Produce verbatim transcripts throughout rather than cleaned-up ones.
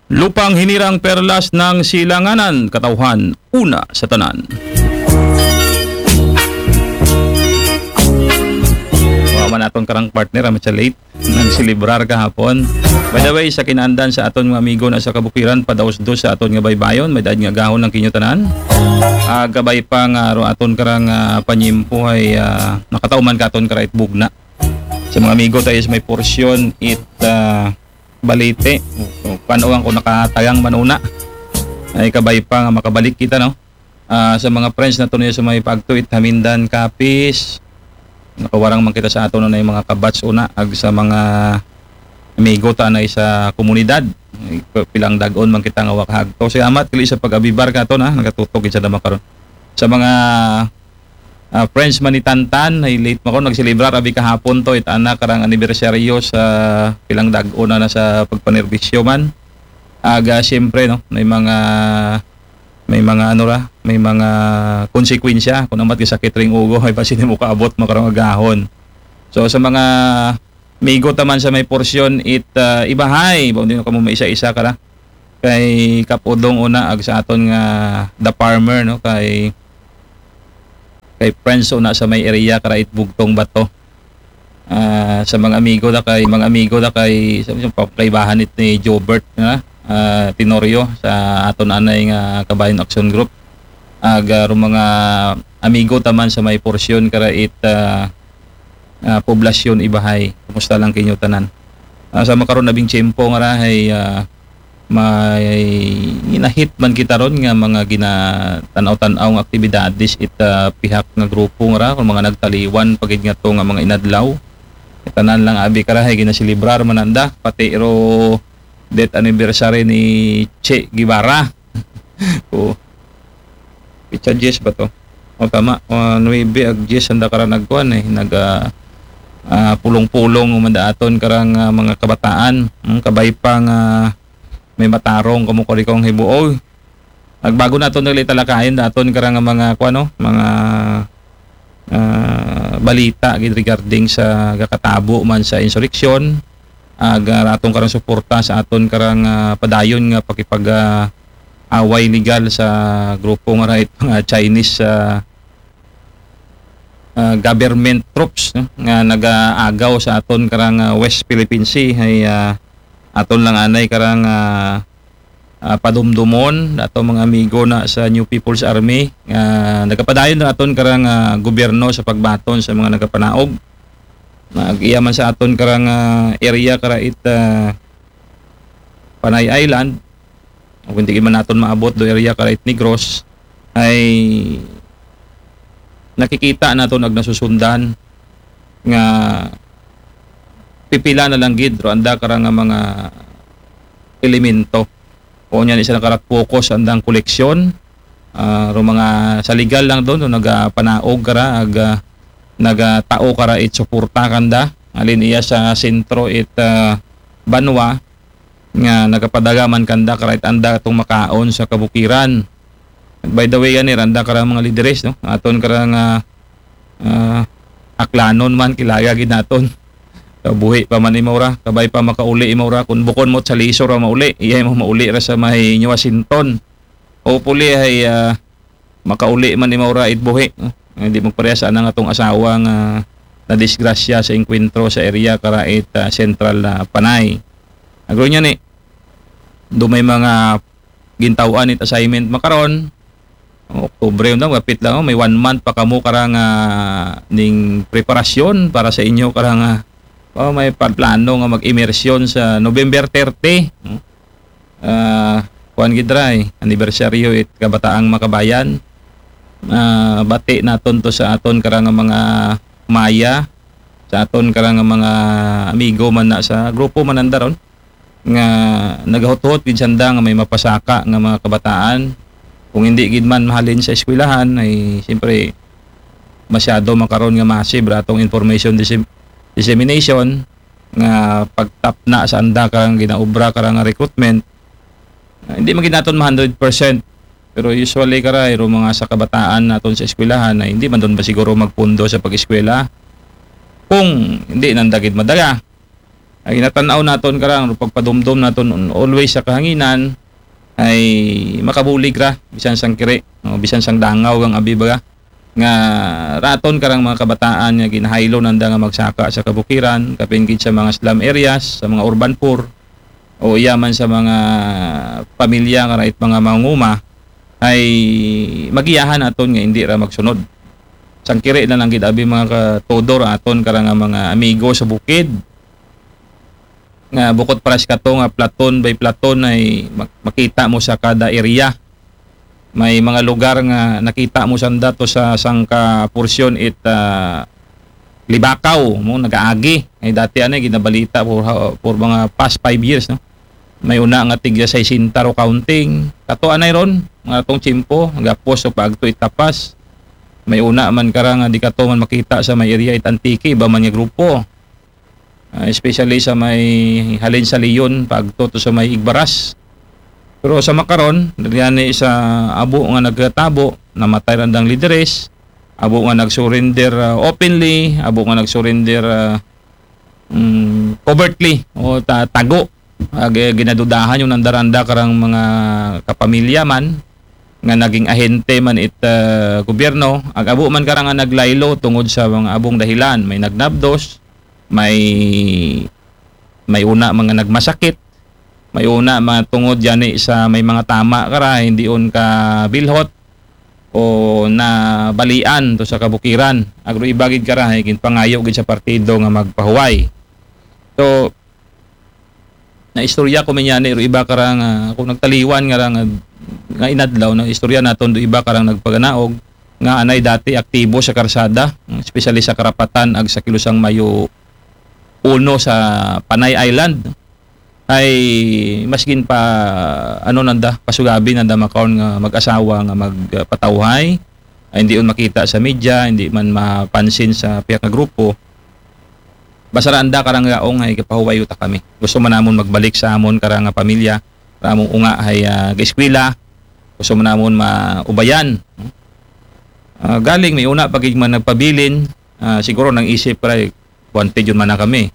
Lupang hinirang, perlas ng silanganan, katawhan, una sa tanan. Wa man aton karang partner, ah, medyo late. Nagselebrar kahapon. By the way, sa kinaandan sa aton mga amigo na sa kabukiran, padaos-dos sa aton nga baybayon, may daad nga gahon ang kinyo tanan. Ah, gabay pa nga ro aton karang, ah, panyempo ay, ah, nakatauman ka aton karait bugna. Sa mga amigo tayo sa may porsyon, it, ah, Balite. Paano ang kung nakatagang manuna? Ay kabay pa nga makabalik kita, no? Ah, sa mga friends na tunay sa may pagtuit, Hamindan, Capiz, nakawarang man kita sa aton na yung mga kabats una, ag sa mga amigo ta na sa komunidad. Ay, pilang dagon man kita nga wakahag. So, salamat kali sa pag-abibar ka to na, nagatutok sa naman karon. Sa mga, ah, friends man ni Tantan, ay late man ko, nagselebrar abi kahapon to, it anak karang anibersaryo sa pilang dagon na, na sa pagpanerbisyo man. Aga, siyempre, no, may mga, may mga ano ra, may mga konsekwensya kung amat ka sakit ring ugo, ay pa sino mo kaabot makarang agahon. So, sa mga migo taman sa may porsyon, it, ah, ibahay, ba, hindi na kamo maisa-isa ka ra. Kay Kap Udong una, ag sa aton nga The Farmer, no, kay, kay Prince una sa may area, kara it Bugtong Bato. Ah, sa mga amigo da kay, mga amigo da kay, sa, sa pa-, kaibahan it ni Jobert, na, ah, Tenorio sa aton anay nga Kabayan Action Group. Ag, ah, ro mga amigo taman sa may porsyon kara it, ah, ah, poblasyon ibahay. Kumusta lang kinyo tanan? Ah, sa makaron na bing tiyempo nga rahay, ah, may ginahit man kita ron nga mga ginatanaw-tanaw nga aktibidades it, ah, pihak nga grupo nga ra, kung mga nagtaliwan pagid nga to nga mga inadlaw. Tanan lang abi karahay ginaselebrar man anda, pati ro death anniversary ni Che Guevara. O, pitsa diyes ba to? O, tama. O, nuebe ag diyes anda kara nagkuan eh. Nag, ah, ah, pulong-pulong umanda aton karang, ah, mga kabataan. Hmm, kabay pa nga may matarong kamo kari kong hibuoy. Agbago naton nagli talakayin daton karang mga kuan, no? Mga, ah, balita gid regarding sa gakatabo man sa insureksyon. Ag, ah, aton karang suporta sa aton karang, ah, padayon nga pakipag, ah, away legal sa grupo nga right nga Chinese, ah, ah, government troops, no, nga nagaagaw sa aton karang, ah, West Philippine Sea. Ay, ah, aton lang anay karang, ah, ah, padumdumon ato mga amigo na sa New People's Army nga nagapadayon na aton karang, ah, gobyerno sa pagbaton sa mga nagapanaog. Nag-iya man sa aton karang, ah, area kara it, ah, Panay Island, o kung di man naton maabot do area kara it Negros, ay nakikita naton ag nasusundan nga pipila na lang gid ro anda kara nga mga elemento. O niyan isa na karat focus andang koleksyon, ah, ro mga sa legal lang doon, no, nagapanaog kara, ag, ah, nagatao kara it suporta kanda. Alin iya sa sentro it, ah, banwa nga nagapadaga man kanda kara it anda atong makaon sa kabukiran. By the way, ani, randa kara mga lideres, no? Aton kara nga, ah, aklanon man, kilaya gid naton. Buhi pa man imaw ra, kabay pa makauli imaw ra. Kung bukon mo sa lisor ra mauli, iya mo mauli ra sa may New Washington. Hopefully ay, ah, makauli man imaw ra it buhi, no? Hindi magparehas anang atong asawa nga nadisgrasya sa engkwentro sa area kara it, ah, Central, ah, Panay. Agro niya ni, do may mga gintaw-an it assignment makaron. Oktubre, undang, gapit lang, oh, may one month pa kamo karang, ah, ning preparasyon para sa inyo karang, ah, oh, may pa-, plano nga mag-immersion sa November thirty, no? Ah, kuan gid ra, eh, anibersaryo it Kabataang Makabayan. Ah, bati naton to sa aton karang mga maya, sa aton karang mga amigo man na sa grupo man anda ron nga nagahut-hut gid sanda nga may mapasaka nga mga kabataan. Kung hindi gid man mahalin sa eskwelahan, ay siyempre masyado makaron nga massive ra atong information dissem-, dissemination nga pagtapna sa anda karang ginaobra karang recruitment. Ah, hindi man gid naton ma hundred percent, pero usually kara iro mga sa kabataan naton sa eskwelahan ay hindi man doon ba siguro magpundo sa pag-eskwela kung hindi nanda gid madala. Ay, ginatan-aw naton karang pagpadumdom naton always sa kahanginan, ay makabulig ra, bisan sang kiri, no? Bisan sang dangaw kang abi baga. Nga raton karang mga kabataan nga ginahaylo nanda nga magsaka sa kabukiran, kapin gid sa mga slum areas, sa mga urban poor, o iya man sa mga pamilya nga rait mga manguma, ay magiyahan aton nga hindi ra magsunod. Sang kiri na lang gid abi mga katudor aton karang mga amigo sa bukid, nga bukod paras kato nga platon by platon ay mak-, makita mo sa kada area. May mga lugar nga nakita mo sanda to sa sangka porsyon it, ah, Libakaw, mo nagaagi. Ay dati anay ginabalita for, for mga past five years, no? May una nga tigya sesenta ro counting. Kato anay ron, mga tong tiyempo, gapos o paagto itapas. May una man kara nga di kato man makita sa may area it Antique, iba man nga grupo. Ah, especially sa may halin sa Leon, paagto to sa may Igbaras. Pero sa makaron, dagani sa abo nga nagtabo, namatay randang lideres, abo nga nag-surrender, ah, openly, abo nga nag-surrender, ah, mm, covertly o ta-, tago. Ah, gi-, ginadudahan yung nandaranda karang mga kapamilya man nga naging ahente man it, ah, gobyerno, ag abo man karang nga naglaylo tungod sa mga abong dahilan, may nagnabdos, may, may una mga nagmasakit, may una mga tungod yani sa may mga tama kara, hindi on ka bilhot o nabalian to sa kabukiran. Agro ibagid kara, ay ginpangayo gid sa partido nga magpahuway. So, naistorya ko man yani ro iba kara nga, kung nagtaliwan nga ra nga, nga inadlaw, naistorya naton do iba karang nagpaganaog nga anay dati aktibo sa karsada, especially sa Karapatan ag sa Kilusang Mayo uno sa Panay Island. Ay maskin pa ano nanda, pasugabi nanda makaon nga mag-asawa nga magpatawhay, ay hindi on makita sa media, hindi man mapansin sa piyak nga grupo. Basta ra anda karang gaong ay kapahuwayo ta kami. Gusto man namon magbalik sa amon karang nga pamilya, ramong unga ay, ah, gaeskwela, gusto man namon maubayan. Ah, galing may una pa gid man nagpabilin, ah, siguro nang isip ra, eh, wanted yun man na kami.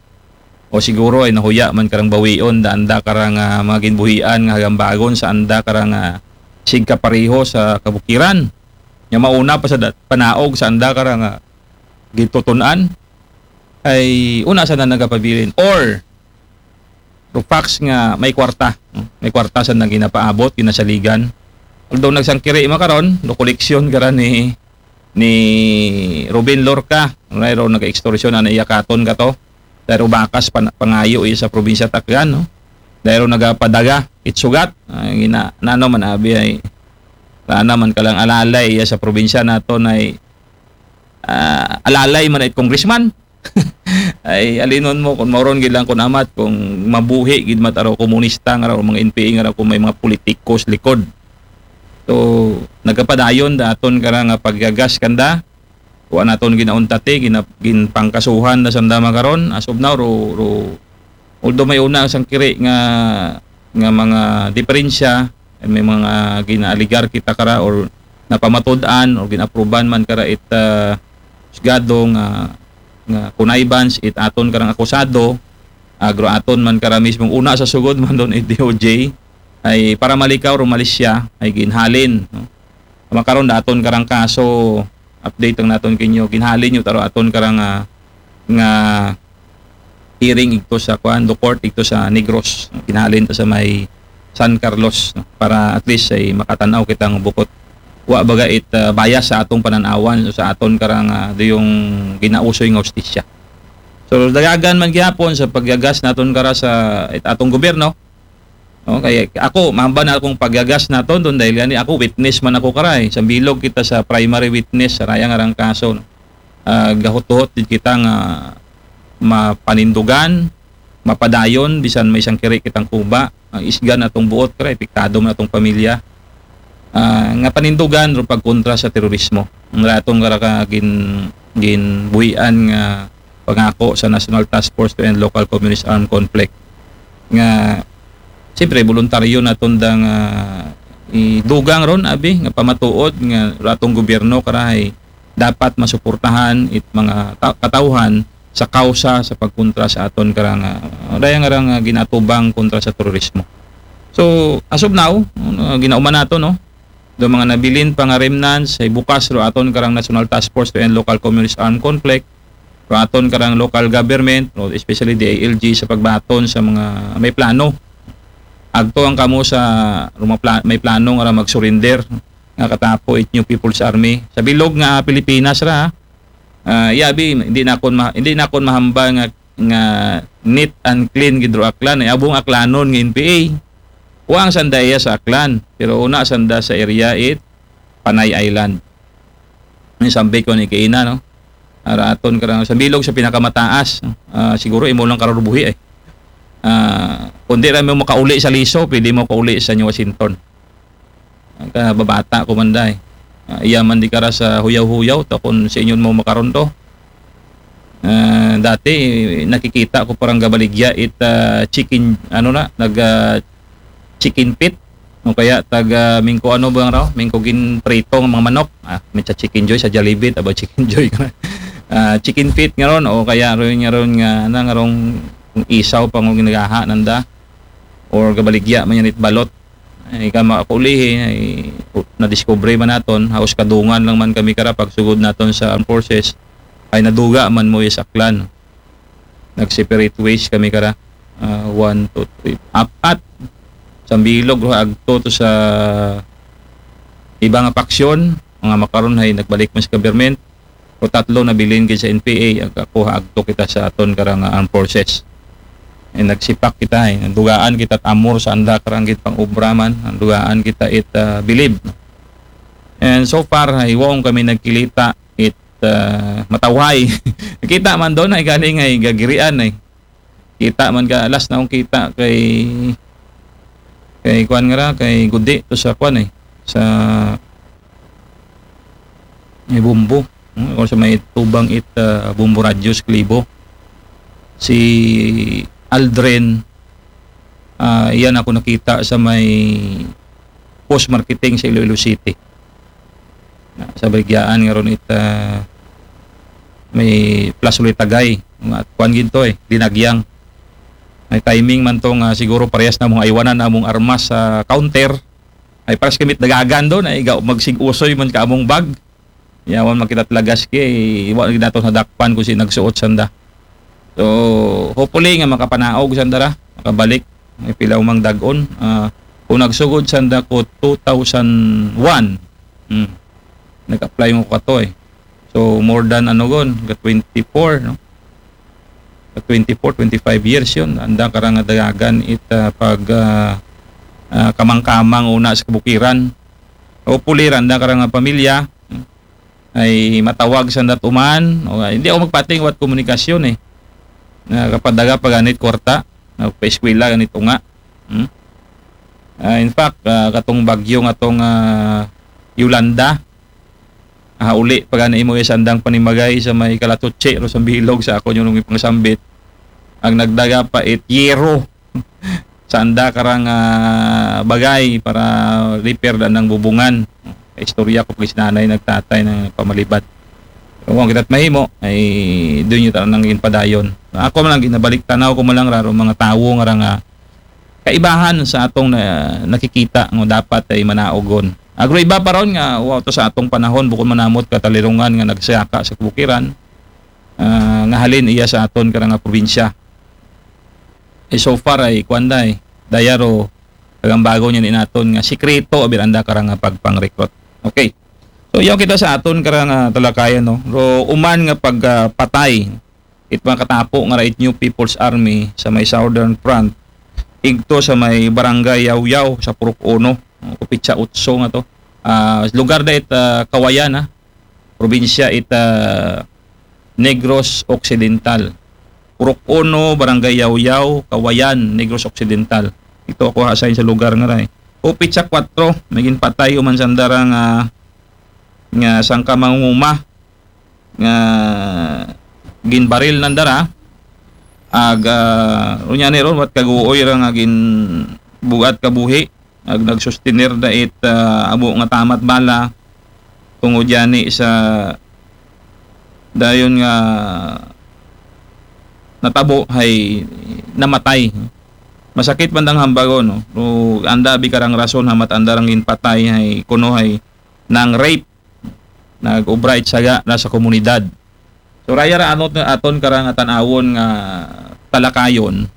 O siguro ay nahuya man karang bawion, da anda karang, ah, mga ginbuhian nga hagambagon sa anda karang, ah, sigkapareho sa kabukiran. Nga mauna pa sa dat-, panaog sa anda karang, ah, gintutun-an. Ay una sa na nagapabilin. Or, the facts nga may kwarta, no? May kwarta sa nang ginapaabot, ginasaligan. Although nagsangkiri makaron, no koleksyon kara ni, ni Ruben Lorca, mayroon nag-extortion na naiyakaton ka to. Pero bakas pan-, pangayo iya sa probinsya Takgan, no? Dahil nagapadaga, itsugat, ay, gina-, nano man abi ay, rana man kalang alalay iya sa probinsya naton ay, ah, alalay man ay congressman. Ay, alinon mo, kung mauron gid lang kung amat, kung mabuhi gid mat araw komunista nga raw, mga N P A nga raw, kung may mga politikos likod. So, nagkapadayon da aton kara nga paggagas kanda, wa naton ginauntati, gina-, ginpangkasuhan na sanda makaron, as of now, ro, ro, although may una sang kiri nga, nga mga diferensya, may mga ginaaligar kita kara or napamatud-an or ginaapruban man kara it, ah, husgado nga, nga connivance it aton karang akusado, agro aton man kara mismong una sa sugod man don it D O J, ay para malikaw ro malisya, ay ginhalin, no? Makaron da aton karang kaso, update ang naton kinyo, ginhalin yung taro aton karang, ah, nga hearing igto sa kuan, do court igto sa Negros. Ginhalin to sa may San Carlos, no? Para at least ay makatanaw kitang bukot. Wa baga it, ah, bias sa atong pananawan o sa aton karang, ah, do yung ginausoy nga hustisya. So, dagagan man gihapon sa paggagas naton kara sa it atong gobyerno. Okay, ako, mamba na akong paggagas naton don dahil gani ako, witness man ako karay. Sa bilog kita sa primary witness, sa rayang arang kaso, no? Ah, gahutuhot din kita nga mapanindugan, mapadayon, bisan may isang kiri kitang kuba, ang isgan atong buot karay, epektado man atong pamilya. Ah, nga panindugan ro pagkontra sa terorismo. Ang ratong karaka gin, ginbuhian nga pangako sa National Task Force to End Local Communist Armed Conflict. Nga, siyempre, voluntaryo naton dang, ah, idugang ron, abi, nga pamatuod nga ratong gobyerno karahay dapat masuportahan it mga ta-, katawhan sa kausa sa pagkontra sa aton karang, ah, daya nga rang, ah, ginatubang kontra sa terorismo. So, as of now, ah, ginauman nato, no? Do mga nabilin pa nga remnants, ay bukas ro aton karang National Task Force to End Local Communist Armed Conflict, ro aton karang local government, ro especially D I L G sa pagbaton sa mga may plano. Agto ang kamo sa ro mga pla-, may plano nga mag-surrender nga katapo it New People's Army. Sa bilog nga Pilipinas ra, ha? Ah, yabi, hindi na akon ma-, hindi na akon mahambal nga, nga neat and clean gid ro Aklan. Ay, abong Aklanon nga N P A. Wa ang sanda iya sa Aklan, pero una sanda sa area it Panay Island. Ni sambit ko ni kaina, no? Ara aton karang sa bilog sa pinakamataas, no? Ah, siguro imo lang karang buhi, eh. Ah, kundi ra mo makauli sa Liso, pwede mo kauli sa New Washington. Ang kababata ko man day. Ah, iya man di kara sa huyaw-huyaw, ta kung sa inyo mo makaron to. Ah, dati, nakikita ko parang gabaligya it, ah, chicken, ano na, nag, ah, chicken feet. O kaya tag, ah, mingko ano ba raw? Mingko ginprito nga mga manok. Ah, may sa Chicken Joy, sa Jollibee, aba Chicken Joy ka na. Ah, chicken feet nga ron, o kaya ron nga ron nga, na, nga ron isaw pa nga ginagaha nanda. Or gabaligya man yan it balot. Ay, ka makaulihi, ay, nadiscovery man naton, haos kadungan lang man kami kara pagsugod naton sa armed forces, ay naduga man mo is Aklan. Nag-separate ways kami kara. Ah, one, two, three, apat. Sa bilog, ro agto to sa iba nga faction, mga makaron ay nagbalik man sa government. O tatlo nabilin gid sa N P A, ag ako agto kita sa aton karang armed forces. Eh, nagsipak kita, eh. Nandugaan kita at amor sa anda karang gid pang-obra man. Nandugaan kita it, ah, bilib. And so far, ay, wa kami nagkilita it, ah, matawhay. Kita man daw na, ay, galing ay gagirian ay. Kita man ka, last na akong kita kay, kay kuan nga ra, kay Gudi to sa kuan eh. Sa may Bumbo. Hmm, o sa may tubang it, ah, Bumbo Radyo sa Kalibo. Si Aldrin, ah, iyan ako nakita sa may post marketing sa Iloilo City. Na, sa baligya nga ron it, ah, may Plaza Litagay. Mga kuan ginto eh, dinagyang. May timing man to nga siguro parehas na mong aywanan na mong armas sa counter. Ay paras kamit dagagan doon, ay ga-, magsig-usoy man ka among bag. Yawan makita talagas kay, wa na gid nato nadakpan kung si nagsuot sanda. So, hopefully nga makapanaog sanda ra, makabalik. May pila mang dag-on. Ah, kung nagsugod sanda ko two thousand one, hmm, nag-apply mo ko kato eh. So, more than ano gon, ga twenty-four, no? Ga twenty-four, twenty-five years yun. Anda karang dagagan it, ah, pag, ah, ah, kamang-kamang una sa kabukiran. Hopefully, anda karang pamilya, hmm, ay matawag sa ndat uman. O, hindi ako magpating wat komunikasyon eh. Na kapadaga pa ganit kwarta, na paeskwela ganit unga. Hmm? Ah, in fact, ah, katong bagyo nga tong, ah, Yolanda, ah, uli pa gani imo sa andang panimagay sa may Kalatuche, ro sa bilog sa ako yung nung ipangsambit. Ang nagdaga pa it yero sa anda karang, ah, bagay para repair da ng bubungan. Istorya ko pag sinanay nagtatay ng pamalibad. Pero kung kita't mahimo, ay doon yung tanang ginpadayon. Ako man lang ginabalik tanaw ko man lang raro mga tawo nga ra nga kaibahan sa atong na, nakikita nga dapat ay manaogon. Agro iba pa ron nga, wa to sa atong panahon, bukod manamot katalirungan nga nagsayaka sa kabukiran, ah, nga halin iya sa aton karang nga probinsya. Eh, so far ay, kuwan da eh, dayaro, kagambago niya ni naton nga sikreto, abir anda karang nga pagpang-recruit. Okay. So, yaw kita sa aton karang, ah, talakayan, no? Ro, uman nga pagpatay, it mga katapo nga ra it New People's Army sa may Southern Front, igto sa may Barangay Yawyaw sa Purok Uno, no? Kupitsa Utso nga to. Ah, lugar da it, ah, Kawayan, ha? Probinsya it, ah, Negros Occidental. Purok Uno, Barangay Yawyaw, Kawayan, Negros Occidental. Ito ako ha-assign sa lugar nga ra eh. Kupitsa kwatro, may ginpatay uman sanda ra nga, nga sangka mangunguma nga ginbaril nanda ra. Ag, ah, unya ni ron, wat kaguoy ra nga ginbugat kabuhi. Ag nagsustener da it, ah, abo nga tama't bala tungod yani sa dayon nga natabo hay namatay. Masakit man dang hambagon, no? Pero anda abi karang rason hamat anda rang ginpatay hay kuno hay nang-rape, nag-obra it saga na sa komunidad. So, raya ra ano aton karang atan-awon nga talakayon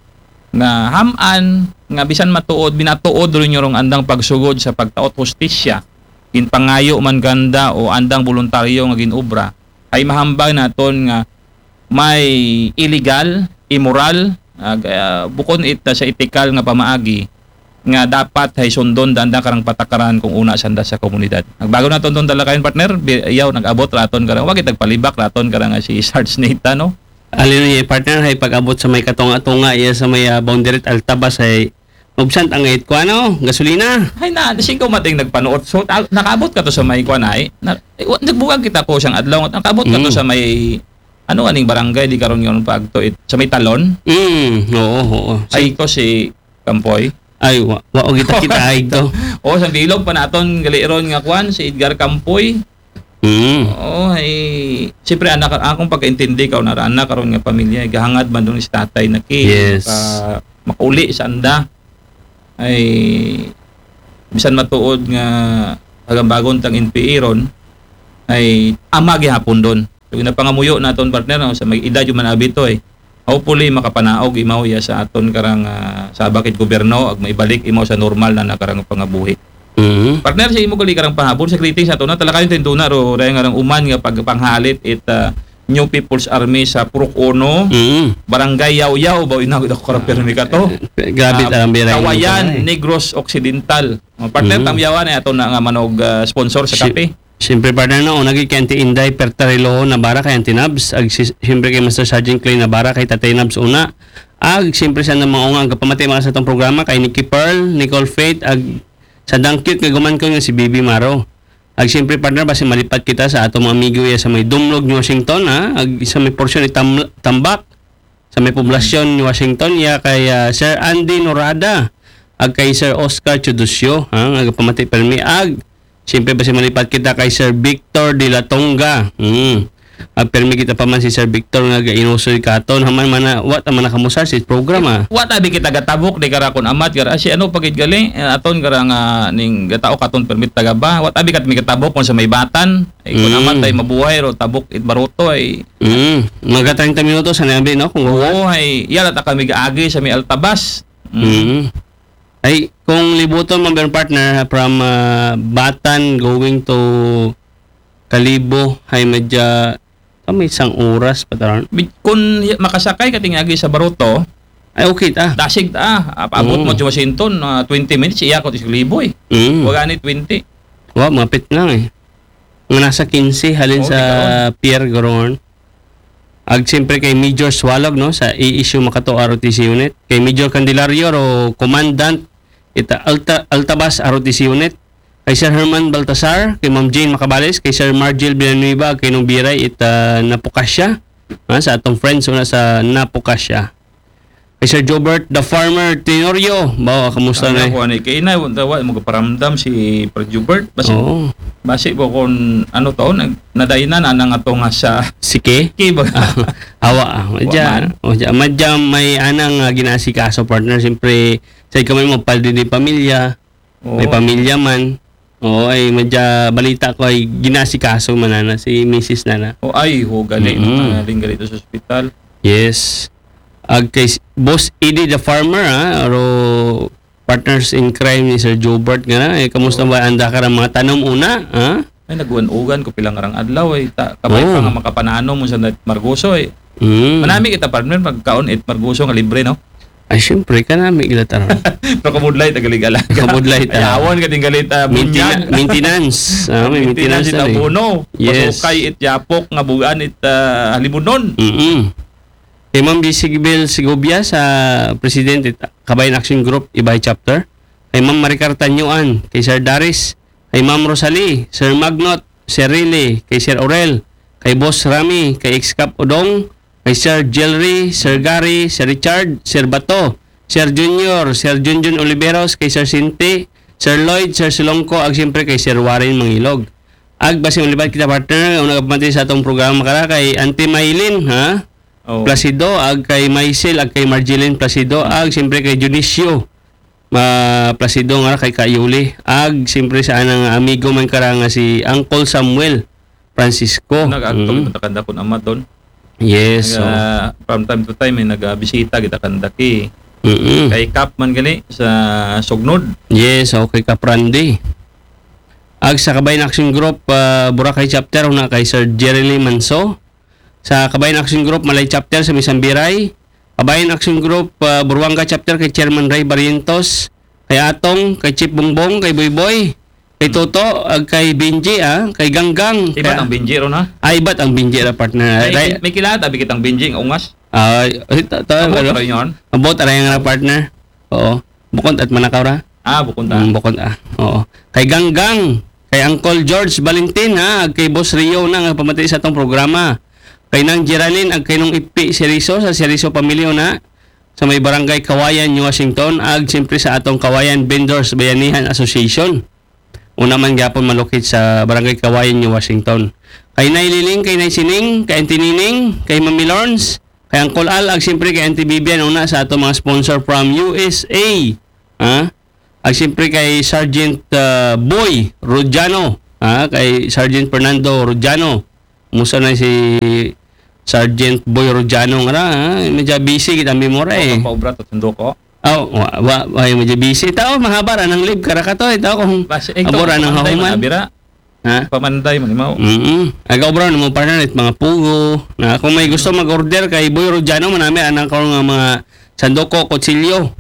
nga ham-an nga bisan matuod, binatuod run yung andang pagsugod sa pagtaot hustisya, ginpangayo man kanda o andang boluntaryo nga ginobra, ay mahambal naton nga may illegal, immoral, ag, ah, bukon it, ah, sa etikal nga pamaagi nga dapat hay sundon da anda karang patakaran kung una sanda sa komunidad. Ag bago naton ton talakayon, partner, bi-, yaw, nag-abot raton karang, wag itag palibak raton karang, ah, si Sarge Nathan, no? Hallelujah, partner, hay pag-abot sa may katunga-tunga, iya sa may, ah, boundary at Altabas, hay mubsant ang it kuano, gasolina. Ay na, di singko mating nagpanuot. So, ta-, nakaabot ka to sa may kuan ay. Na, eh, wa-, nagbuwag kita ko siyang adlaw. Nakaabot ka to Mm. sa may, ano aning barangay, di karon yun pa agto it, sa may Talon? Mm, oo, oo. Ay, ko si Kampoy. Ay, wa, wa, o kita, kita, ay, to. O, sa bilog pa naton, gali ron nga kuan, si Edgar Kampoy. Mm. Oo, ay, siyempre, anak, akong pagkaintindi ka, unara, anak, karon nga pamilya, gahangad man doon si tatay na ki, Yes. maka-, makauli sa anda. Ay, bisan matuod nga hagambagon tang N P A ron, ay, ama gihapon doon. So, ginapangamuyo naton, partner, no, sa may edad yung man abi to, eh. Hopefully, makapanaog imaw ya sa aton karang, ah, sabak it gobyerno, ag maibalik imaw sa normal na nakarang pangabuhi. Mhm. Partner, sa imo gali karang pahabol, sa greetings ato na, talakayon tinduna, ro, raya nga rang uman nga pagpanghalit it, ah, New People's Army sa Purok Uno, Mhm. Barangay Yaw-Yaw, ba, inagod ako karang pirmi ka to? Eh, grabe Ah, tarang biray Kawayan, nito, eh. Negros Occidental. Oh, partner, Mhm. tamyawan ay ato na nga manog, ah, sponsor sa Si-, kape. Siyempre, partner, no, una gid kay Auntie Inday Pertarilo Navarra, kay Auntie Nabs, ag si-, siyempre kay Master Sergeant Clay Navarra, kay Tatay Nabs una. Ag siyempre sa nang mga unga, ang kapamati mga sa atong programa, kay Nikki Pearl, Nicole Faith, ag sa dang cute nga guman ko nga si Bibi Maro. Ag siyempre, partner, basi malipat kita sa atong mga amigo ya sa may Dumlog, New Washington, ha? Ag sa may porsyon ni Tam-, Tambak, sa may poblasyon ni Washington, ya kay, ah, Sir Andy Norada, ag kay Sir Oscar Chudusyo, ha? Nga pamati permi, ag siyempre, basi malipat kita kay Sir Victor de la Tonga. Hmm. Ag permi kita pa man si Sir Victor nga gainusoy katon. Haman man na, wa ta man nakamusar si programa. Wa ta bi kita gatabok, di kara kun amat, kara, si ano, pagid gali, eh, aton kara nga ning gatao katon permit taga ba. Wa ta bi kat mi gatabok kung sa may batan. Eh, kung Mm. amat ay mabuhay ro, tabok it baruto ay. Mm. Mga treinta minutos, ano yan, no? Kung Oo, ay, yala ta kami gaagi sa may Altabas. Mm. Mm. Ay, kung libuton man, partner, from, ah, Batan going to Kalibo, ay medya, ah, may isang oras pa taron. Bi-, kung y-, makasakay ka tingagi sa Baruto, Ay, okay, ta. dasig ta, ah, paabot Oo. mo sa Washington, ah, twenty minutes, iya ko sa Kalibo, eh. Mm. Wala ni twenty. Wa, mapit lang, eh. Nga nasa quince, halin Oo, sa di karon. Pier Gorongon. Ag siyempre kay Major Swalog, no, sa A S U Makato R O T C Unit. Kay Major Candelario, ro, Commandant, ita Alta, Altabas R O T C Unit. Kay Sir Herman Baltasar, kay Ma'am Jane Macabales, kay Sir Margil Villanueva, kay Nong Biray, ita Napocasio. Ha, sa atong friends, una sa Napocasio. Kay Sir Jobert, the farmer, Tenorio. Bawa, kamusta Ano na? Ko, ano, kay ina, wa, wa, magaparamdam si Sir Jobert. Basi, Oo. basi po kung ano to, nag-, nadainan, anang ato nga sa Sike? Sike ba? Awa, ah. Wa Madya, man. Madya, madya may anang, ah, ginasikaso, partner. Siyempre, sa ikaw may magpaldi ni pamilya, may Oo. pamilya man. Oo, ay, madya, balita ko ay ginasikaso man na, na si misis na na. Oh, ay, ho, gali, Mm-mm. no? Galing gali to sa ospital. Yes. Ag kay s-, Boss Eddie the Farmer, ha? Aro, partners in crime ni Sir Jobert nga na. Eh, kamusta Oo. ba? Anda ka ra mga tanom una, ha? Ay, naguan-ugan ko pila nga rang adlaw, eh. Ta-, kamay pa Oo. nga makapanano mo sa nat-, Margoso, eh. Mm. Manami kita, partner, magkaon it Margoso nga libre, no? Ay, siyempre, kanami gila taron. Pero kabudlay, tagalig-alaga. Kabudlay ta. Ay, awon ka tinggalit, ah, Mainten-, bunyag. maintenance. Ah, may Maintenance maintenance it na, eh. Abono. Yes. Pasukay it yapok nga bugan it, ah, halimunon. Mm-mm. Kay Ma'am Bisibel Segovia sa President it Kabayan Action Group, Ibay Chapter. Kay Ma'am Maricar Tanyuan, kay Sir Daris, kay Ma'am Rosalie, Sir Magnot, Sir Riley, kay Sir Orel, kay Boss Rami, kay Ex-Cap Udong, kay Sir Jelry, Sir Gary, Sir Richard, Sir Bato, Sir Junior, Sir Junjun Oliveros, kay Sir Sinti, Sir Lloyd, Sir Silongko, ag siyempre kay Sir Warren Mangilog. Ag basi malipat kita, partner, una ka pamati sa atong programa kara kay Auntie Maylin, ha? Oh. Placido, ag kay Maisel, ag kay Marjeline Placido, ag siyempre kay Dionisio, ah, Placido nga kay Kayuli. Ag siyempre sa anang amigo man kara nga si Uncle Samuel Francisco. Nag-agto Mm. kita kanda kun ama ton. Yes, Nag, so. ah, from time to time, may nagabisita kita kanda ki. Mm-mm. Kay Kap man gali sa Sugnod. Yes, okay, Kap Randy. Ag sa Kabayan Action Group, ah, Boracay Chapter, una kay Sir Jerry Lee Manso. Sa Kabayan Action Group, Malay Chapter sa Misambiray. Kabayan Action Group, ah, Buruanga Chapter kay Chairman Ray Barrientos. Kay Atong, kay Chief Bongbong, kay Boyboy. Kay Toto, ag kay Benji, ah, kay Ganggang. Ibat Kay ang Benji ron, ha? Ah, ibat ang Benji ra, partner. May, Ray- may kilala, tabi kitang Benji, ang ungas. Ah, ay, ta-, ta-, Abot ano? ra yun. Abot ra yun ra, partner. Oo. Bukon at manakaw ra. Ah, bukon ta. Mm, bukon, ah. Oo. Kay Ganggang, kay Uncle George Valentin, ha, ag kay Boss Rio na nga pamati sa atong programa. Kay Nang Geraldine, ag kay Nung Ipi Seriso, sa Seriso pamilya na, sa may Barangay Kawayan, New Washington, ag siyempre sa atong Kawayan Vendors Bayanihan Association. Una man gyapon malukit sa Barangay Kawayan, New Washington. Kay Nay Liling, kay Nay Sining, kay Auntie Nining, kay Mami Lawrence, kay Uncle Al, ag siyempre kay Auntie Vivian, una sa atong mga sponsor from U S A. Ha? Ag siyempre kay Sergeant, ah, Boy Rodiano, ha? Kay Sergeant Fernando Rodiano. Musa na si Sergeant Boy Rodiano nga ra, ha? Medyo busy kita memora, eh. Ang paubra to, sundo ko. Oh, wa, wa, wa, medyo busy. Tao, mahaba ra nang live, kara ka to, eh. Tao, kung Bas-, ikaw, abora nang pamanday man, hahuman. Abira. Ha? Pamanday man, imaw. Mm-mm. Aga obra mo, partner, it mga pugo. Na, kung may gusto mag-order kay Boy Rodiano, manami, anang ko nga mga sandoko, kutsilyo.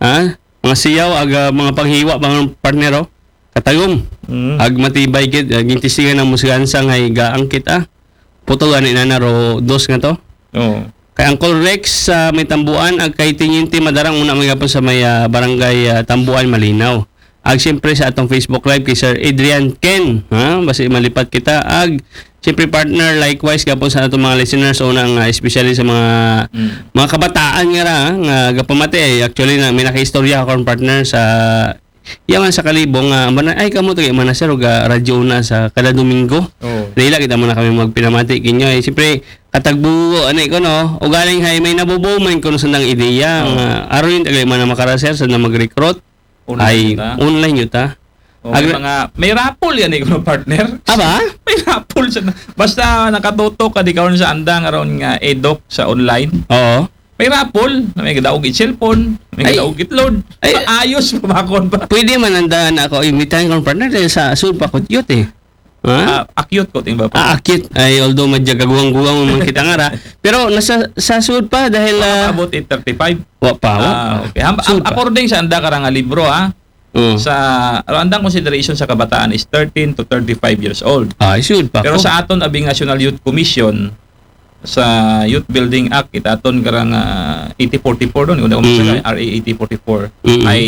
Ha? Mga siyaw, aga, mga panghiwa, mga partner, oh. Katagom. Mm. Ag matibay gid, ag intistigan ang musgansa nga gaangkit, ah. Puto gani na naro dos nga to. Oo. Kay Uncle Rex sa may Tambuan, ag kay Tiniente Madarang, una man gapon sa may, ah, barangay, ah, Tambuan, Malinaw. Ag siyempre sa atong Facebook Live kay Sir Adrian Ken, ha? Basi malipat kita. Ag siyempre, partner, likewise gapon sa atong mga listeners, una nga, especially sa mga, Mm. mga kabataan nga ra, nga gapamati, eh. Actually, na, may nakaistorya ako, partner, sa yaman sa Kalibong, nga, mana-, ay, kamo to, kay mana, sir, og, ah, radyo na sa kada Domingo. Oo. Dahil kita muna kami magpinamati kinyo, eh. Siyempre, katagbuo, ano, ko, no? Ugaling hay, may nabubuo man kuno sa nang ideya, Oo. nga, aron yung tagay man na makara, sir, sa na mag-recruit. Online Ay, ta. Online yun ta. O, may Agra- mga, may raffle yan, eh, kuno, partner. Aba? May raffle sa, basta nakatutok ka, di karon sa andang aron nga edok sa online. Oo. May raffle, na may gadaog it cellphone, may Ay. gadaog it load. Ay. Maayos, mabakon pa. Pwede man ang daan ako, imitahan kong partner, dahil sa sud pa kutyot, eh. Ha? Ah, akyot ko, ting ba pa? Ah, akyot. Ay, although madya gaguwang-guwang man kita nga ra. Pero nasa, sa sud pa, dahil, Wala ah, pa abot it thirty-five? Wa pa, wa Ah, pa. okay. Ham-, Sud am-, pa. According sa anda karang libro, ha? Mm. Sa, ang andang consideration sa kabataan is thirteen to thirty-five years old. Ah, sud pa Pero ko. sa aton, abing National Youth Commission, sa Youth Building Act, itaton karang, ah, eighty forty-four doon, kung di ako Mm. masala, R A eighty forty-four, Mm. ay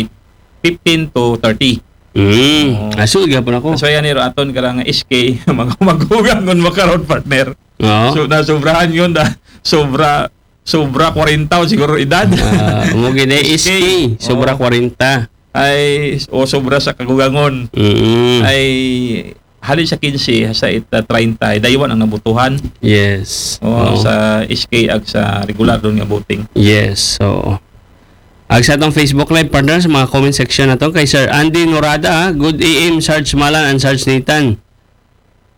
fifteen to thirty. Mm. Oo. Ah, sud gapon ako. So, yan, iro aton karang S K, mag-, maghugang kung makaroon, partner. Oo. So, nasobrahan yun, da. Sobra, sobra kwarenta o siguro edad. Ah, mo gina S K, S K, sobra Oo. kwarenta. Ay, o sobra sa kagugangon. Mm. Ay, hali sa quince, sa it, ah, treinta, ay daywan ang nabutuhan. Yes. Oo, Oo. sa S K ag sa regular doon nga voting. Yes, oo. Ag sa atong Facebook Live, partner, sa mga comment section na to, kay Sir Andy Norada, ha? Good A M, Sarge Malan and Sarge Nathan.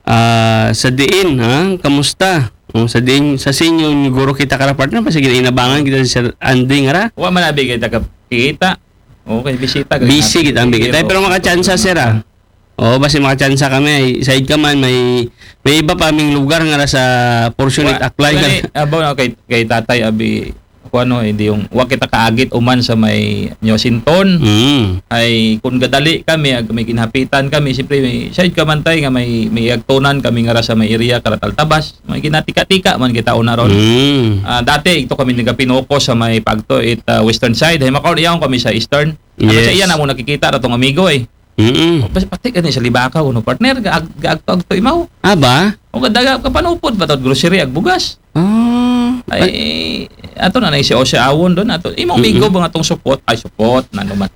Ah, sa diin, ha? Kamusta? Oh, sa diin, sa sinyo, guro kita kara, partner, pa, sige, inabangan kita si Sir Andy nga ra. Wa man abi kita kakita. Okay, bisita, Busy kita, ang bigay. Pero makachansa, sir, ah. Oo, basi makachansa kami. Ay, side ka man, may, may iba pa aming lugar nga ra sa portion Wa-, it Aklay. Wala ni, abaw na kay, kay tatay, abi, kuan, no, hindi yung, wa kita kaagit uman sa may Nyosinton. Mm. Ay, kung gadali kami, ag may ginahapitan kami, siyempre, may side ka man, tay, nga may, may agtunan kami nga ra sa may area, Karatal Tabas, may ginatika-tika man kita una ron. Mm. Ah, dati, ito kami nagapinoko sa may pagto, it, ah, western side. Ay, makaon iyaw kami sa eastern. Ano Yes. sa iya na mo nakikita ra tong amigo, eh. Mm-mm. Bas-, pati ka ni sa Libakaw, no, partner? Gaag-, gaagto-agto imaw. Ah, ba? O, gadaga, kapanupod pa to, grocery, ag bugas. Ah. Ay, ato na na si Ose Awon doon, ato. Imong Mm-mm. migo ba nga tong supot? Ay, supot, na naman.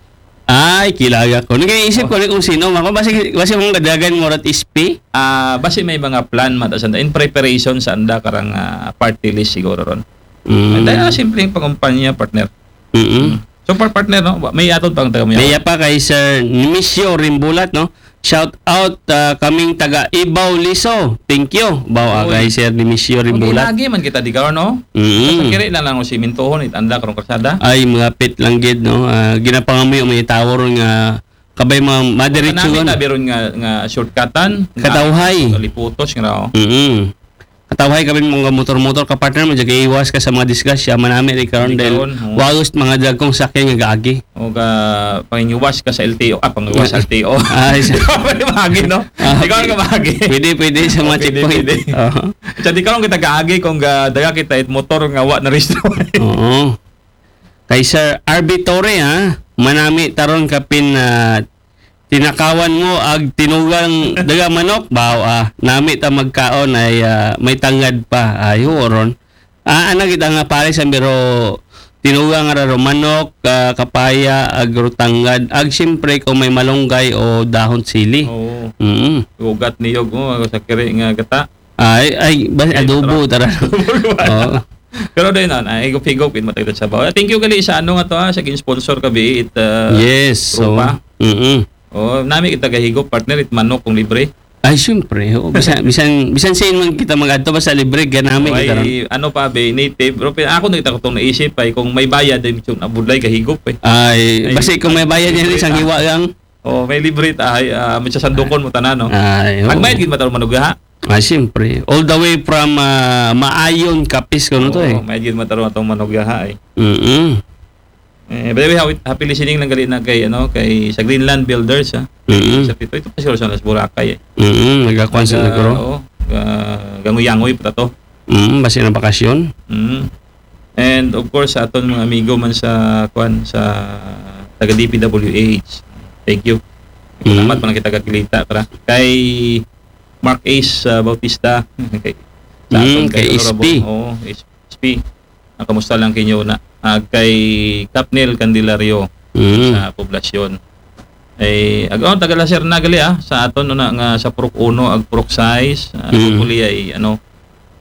Ay, kilaga ko. Nag-iisip Oh. ko ni kung sino. Ako, basi, basi mong gadagan mo rat S P? Ah, basi may mga plan man, tas anda, in preparation sa anda karang, ah, party list siguro ron. Mm. Dahil na simpleng pangumpanya, partner. Mm-mm. So, par partner, no? May atod pang taga mo Kaya pa kay Sir Nimisio Rimbulat, no? Shout out ah, kaming taga Ibaw Liso. Thank you. Bawa Oy. Kay Sir Nimisio Rimbulat. Mag-inagi man kita di ka, no? Mm. Kiri na lang si Mintuhon, it anda karong kalsada. Ay, mga pit lang gid, no? Ah, ginapangamuyo may tawor nga kabay mga madiretso Kanami nga. Tabi ron nga, nga shortcutan. Katawhay. Liputos nga, oh. Mm. Katawhay kami mga motor-motor ka partner mo, diyan iwas ka sa mga disgrasya, manami rin karon Di dahil karon, oh. wagos mga dagkong sakyan nga gaagi. O ka, pangiwas ka sa L T O. Ah, pangiwas sa L T O. Ay, sa- Pwede bahagi, no? Ah, Ikaw ka bahagi. Pwede, pwede sa mga Pwede, checkpoint. pwede. Oo. Sa di karon kita gaagi kung ga, daga kita it motor nga wa na restro. Oo. Kay Sir R B Torre, ha? Manami taron kapin na tinakawan mo ag tinugang daga manok, baw ah. Nami ta magkaon ay ah, may tangad pa. Ay, huoron. Ah, ana kita nga pare sa biro tinugang nga raro manok, ah, kapaya, ag rutangad, ag siyempre kung may malunggay o dahon sili. Oo. Mm. Ugat niyog mo sa kiri nga gata. Ay, ay, ba, adobo, tara. Oo. Pero dahil na, ay higop-higop in matagdad sa bawa. Thank you gali sa ano nga to ha, sa gin-sponsor ka bi it uh, Yes, so. Tropa. Mm-mm. Oh, nami kita gahigop partner it manok kung libre. Ay, siyempre. Oo, bisan, bisan, bisan sa man kita mag-adto basta libre, ganami kita ron. Ay, ano pa be, native. Pero pin- ako na kita kung naisip ay kung may bayad ay mitsun abudlay gahigop eh. Ay, Ay, basi kung may bayad yan, libre isang ta. Hiwa lang. Oh, may libre ta ay uh, may sasandukon mo tanan no. Ay, oo. Pag mayad gid mataro manugaha. Ay, siyempre. All the way from ah, Maayon, Capiz, kuno to eh. Oh, mayad gid mataro atong manugaha eh. Mm-mm. Eh, by the way, happy, happy listening lang gali na kay ano, kay sa Greenland Builders ha. Mm-mm. Sa pito ito pa siguro sa Las Boracay eh. Mm-mm. Nagkakuan sa Ga- nagro. Oo, ga- ganguyangoy pa to. Mm, basi ng bakasyon. Mm. And of course sa aton mga amigo man sa kwan sa taga D P W H. Thank you. Mm. Salamat man kita kakilita kara. Kay Mark Ace uh, Bautista. Kay, Mm, kay Honorable, S P. Oo, S P. Ah, kamusta lang kinyo na? Ah, kay Capnel Candelario Mm. sa poblasyon. Eh, ag oh, taga Lacer na gali ah, sa aton no na nga sa Purok Uno ag Purok Sais, ah, Mm. hopefully ay ano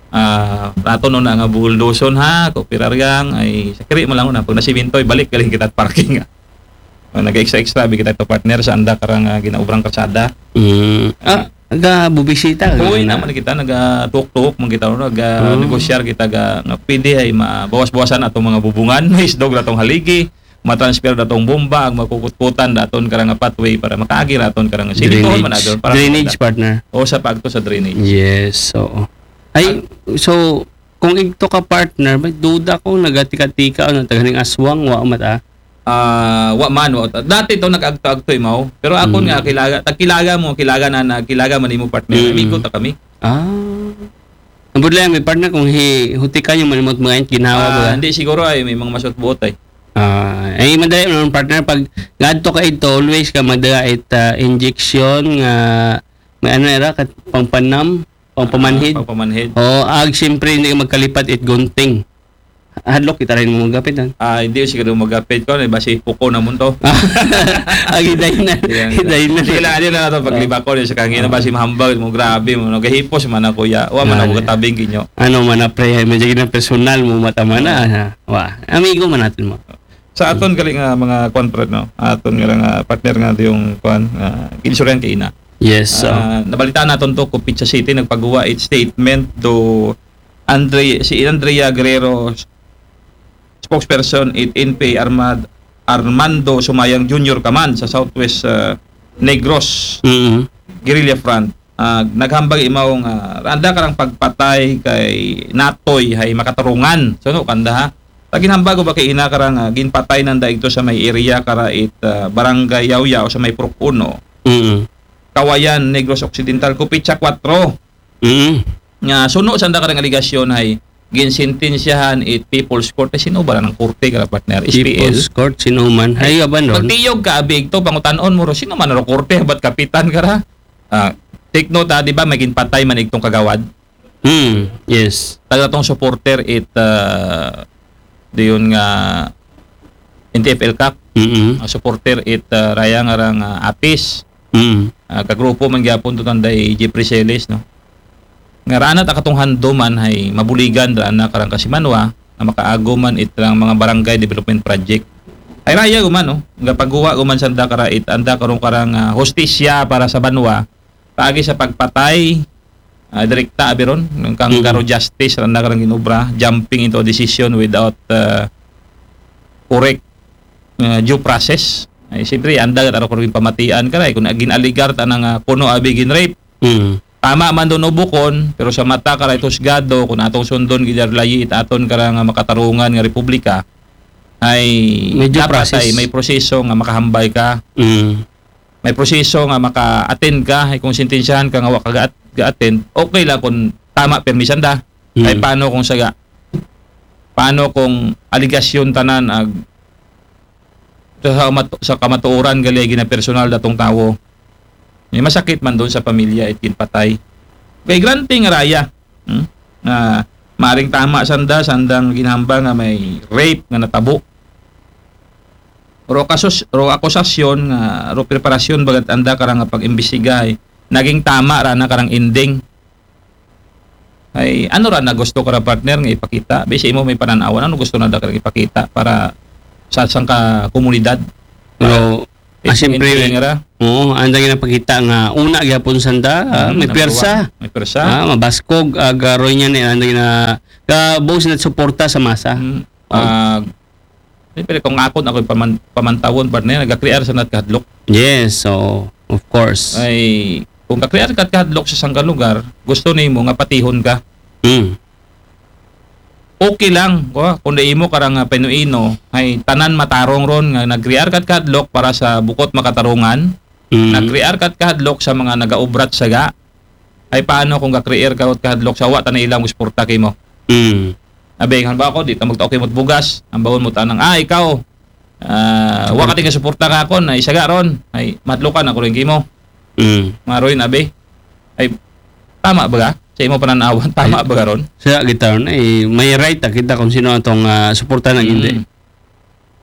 ah aton no na nga bulldoson ha, ko pirariang ay sa kiri mo lang na pag nasiminto balik galing kita parking. Ah, nag-extra extra bi kita to partner sa anda karang ah, ginaubrang kalsada. Mm. Ah, ga bubisita. Uy, na. Naman kita naga-talk-talk man kita no, naga Mm. negosyar kita ga nga pwede ay mabawas-bawasan atong mga bubungan, isdog na tong haligi, matransfer na tong bomba, ang makukutkutan daton karang pathway para makaagi raton karang simintuhon man Drainage, adon para drainage partner. O sa pagto sa drainage. Yes, oo. Ay, so, kung igto ka partner, may duda ko, nagatika-tika, ano, taganing aswang, wa mata. Ah, wa man, wa. Dati to nag-agto-agto imaw. Pero akon Mm. nga kilaga, tagkilaga mo, kilaga na, na kilaga man imo partner. Mm. Amigo ta kami. Ah. Ang budlay, may partner, kung hi, hutikan yung manimot mga ginawa ba? Ah, hindi siguro ay may mga masot buot ay. Ah, ay madali naman partner pag ngadto ka ito always ka magdala it ah, injection nga may ano era kat pangpanam, pangpamanhid. Ah, pangpamanhid. O ag siyempre hindi ka magkalipat it gunting. Hadlok kita rin mo magapit ah. Ah, hindi siguro magapit ko, basi puko na mo to. Ag hiday na. Yan. Hiday na. Sige lang, ano na to, paglibak ko sa kangina, basi mahambag mo, grabe mo, no? Gahipos man ako ya. Wa man Ah, ako yeah. Katabing kinyo. Ano man na pre, medyo na personal mo mata man na. Ha? Wa, amigo man natin mo. Sa aton gali nga mga kwan, pre, no? Aton nga nga partner nga yung kwan, uh, insurance kay ina. Yes, so. Ah, nabalitaan naton to, Copita City nagpagawa it statement do Andre, si Andrea Guerrero, spokesperson it N P A Armad, Armando Sumayang Junior Kaman sa Southwest ah, Negros Mm. Guerrilla Front. Ah, naghambag imaw nga anda karang pagpatay kay Natoy hay makatarungan. So no kanda ha. Taginhambag ba kay ina karang ah, ginpatay nanda ito sa may area kara it ah, Barangay Yaoyao sa may Purok Uno, Mm. Kawayan, Negros Occidental, Copita Cuatro. Mm. Nga suno sa anda karang aligasyon hay ginsentensyahan it People's Court. Ay, sino ba ng korte kara partner? S P L. People's Court, sino man. Hay, aban ron. Magtiyog ka abig to, pangutan-on mo ro, sino man ro korte, ba't kapitan ka ra? Ah, take note ha, di ba, may ginpatay man igtong kagawad? Mm, yes. Taga tong supporter it, ah, diyon nga N T F L Cup. Mm. Ang supporter it, ah, raya nga rang ah, Apis. Mm. Ah, kagrupo man gyapon to tanday Jeffrey Celes, no? Nga raan na takatong hando man hay mabuligan raan na karang kasimanwa. nga makaago man it karang mga barangay development project. Ay raya guman, no? Nga pagguwa guman sanda kara it anda karon karang, ah, hustisya para sa banwa, paagi sa pagpatay, ah, direkta abi ron, kang Mhm. garo justice ra na karang ginobra, jumping into a decision without, ah, correct, ah, due process. Ay, siyempre, anda gid aro karon pamatian kara, eh, kung gin-alegar ta na nga kuno abi gin-rape, Mm. tama man doon o bukon, pero sa mata kara it husgado, kung atong sundon gid layi it aton kara nga makatarungan nga republika, ay May due dapat process. Ay may proseso nga makahambal ka, Mm. may proseso nga maka-attend ka, ay kung sentensyahan ka nga wa ka ga-, ga-attend, okay lang kung tama permi sanda. Mm. Ay paano kung saga? Paano kung aligasyon tanan ag sa, mat-, sa kamatuoran gali ginapersonal datong tawo? May masakit man doon sa pamilya it ginpatay. Kay granting raya, hmm? Nga maring tama sanda, sandang ginhambal nga may rape nga natabo. Ro kasus-, ro akusasyon nga, ro preparasyon bagat anda karang nga pag-imbestiga, eh, naging tama ra na karang ending. Ay, ano ra na gusto kara, partner, nga ipakita? Basi imo may panan-awan, ano gusto na da karang ipakita para sa sangka komunidad? Pero, ah, Itong siyempre, ending ra? Oo, anda ginapakita nga una gyapon sanda, ah, Mm, may number pwersa. One. May pwersa. Ah, mabaskog, ah, garoy niya ni anda gina, kabuo sila suporta sa masa. Mm. Ah, siyempre, kung ako, ako paman, pamantawon, partner, nagakrear sa nat kahadlok. Yes, so, of course. Ay, kung kakrear ka kahadlok sa sangka lugar, gusto nimo nga patihon ka. Mm. Okay lang, ko, kung di imo karang, ah, pinuino, ay tanan matarong ron nga nagkrear ka kahadlok para sa bukot makatarungan, Mm. nagkrear ka kahadlok sa mga nagaubrat saga, ay paano kung gakrear ka kahadlok sa wa tanan ilang suporta kimo? Mm. Abi, halimbawa ko, di ta magtaok imot bugas, ang bawon mo tanang, ah, ikaw, ah, wa ka tinga suporta ka akon, ay saga ron, ay madlukan ako rin kimo. Mm. Maroy na, abi. Ay, tama ba ka? Sa imo pananawan, tama Ay, ba ka ron? Sa kita ron, eh, may right ta kita kung sino atong, ah, suporta na hindi. Mm.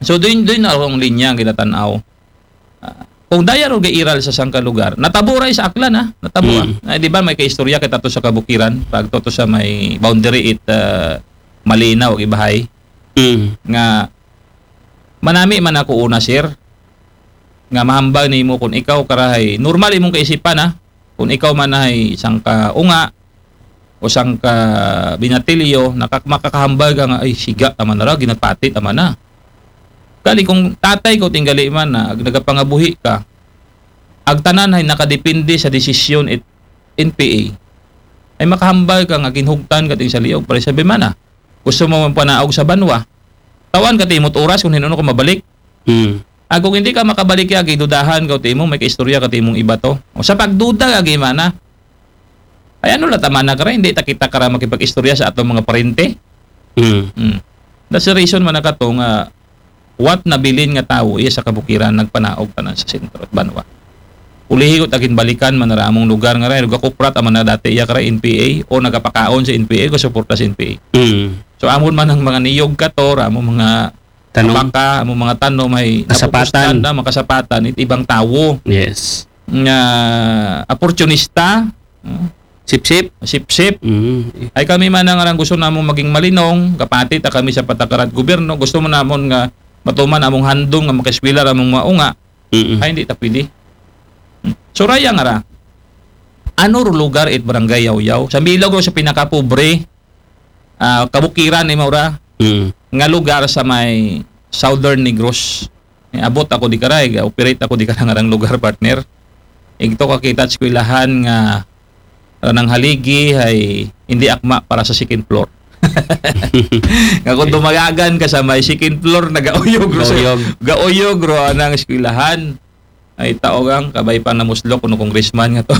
So, doon, doon na akong linya ang kinatanaw. Ah, kung daya ro gairal sa sangka lugar, natabo ra sa Aklan, ha? Natabo, ha? Mm. Ay, di ba, may kaistorya kita to sa kabukiran, pag to, to sa may boundary it, ah, Malinaw, Ibahay, Mm. nga manami man ako una, sir, nga mahambal nimo kung ikaw karahay, normal imong kaisipan, ha? Kung ikaw man ay sangka unga o sangka binatilyo, nakak-, makakahambal ka nga, "Ay, siga, tama na ra, ginapati, tama na." Kali kung tatay ko, tinggali man na, ag nagapangabuhi ka, ag tanan ay nakadepende sa desisyon it N P A, ay makahambal ka nga ginhugtan ka ting sa liog, para sabi man na, gusto mo man panaog sa banwa, tawan ka timot oras kung hinuon ko mabalik. Mm. Ag kung hindi ka makabalik, ya, gidudahan ka, timo, may kaistorya ka, timong iba to. O sa pagduda, agi mana. Ay, ano la, tama na kara, hindi ta kita kara makipag-istorya sa atong mga parente. Mm. Hmm. That's the reason man na kato nga what nabilin nga tawo iya sa kabukiran nagpanaog tanan sa sentro at banwa. Ulihi ko, tagin balikan man na ra among lugar nga ra, gakuprat aman na dati iya kara N P A o nagapakaon sa N P A, gasuporta sa N P A. Mm. So, amon man ang mga niyog kato, among mga Tanom. Baka among mga tanom ay Kasapatan. Napupustan na, makasapatan it ibang tawo Yes. nga opportunista, hmm, Sip-sip. sip-sip. Mm. Ay kami man nga gusto namong maging malinong, kapati ta kami sa patakaran gobyerno, gusto mo namon nga matuman among handom nga makaeskwela ra among mga unga, Mm. ay hindi ta pwede. Hmm. So, raya nga ra, ano ro lugar it Barangay Yawyaw? Sa bilog ro sa pinakapobre, ah, kabukiran ni Maura, Mm. nga lugar sa may Southern Negros. Eh, abot ako di karay, operate ako di karang lugar, partner. Igto ka kita eskwelahan nga ranang haligi ay hindi akma para sa second floor. Nga kung dumagagan ka sa may second floor, nagauyog ro sa, Gauyog. gauyog ro anang eskwelahan. Ay, taogang kabay pa namuslok kuno congressman nga to.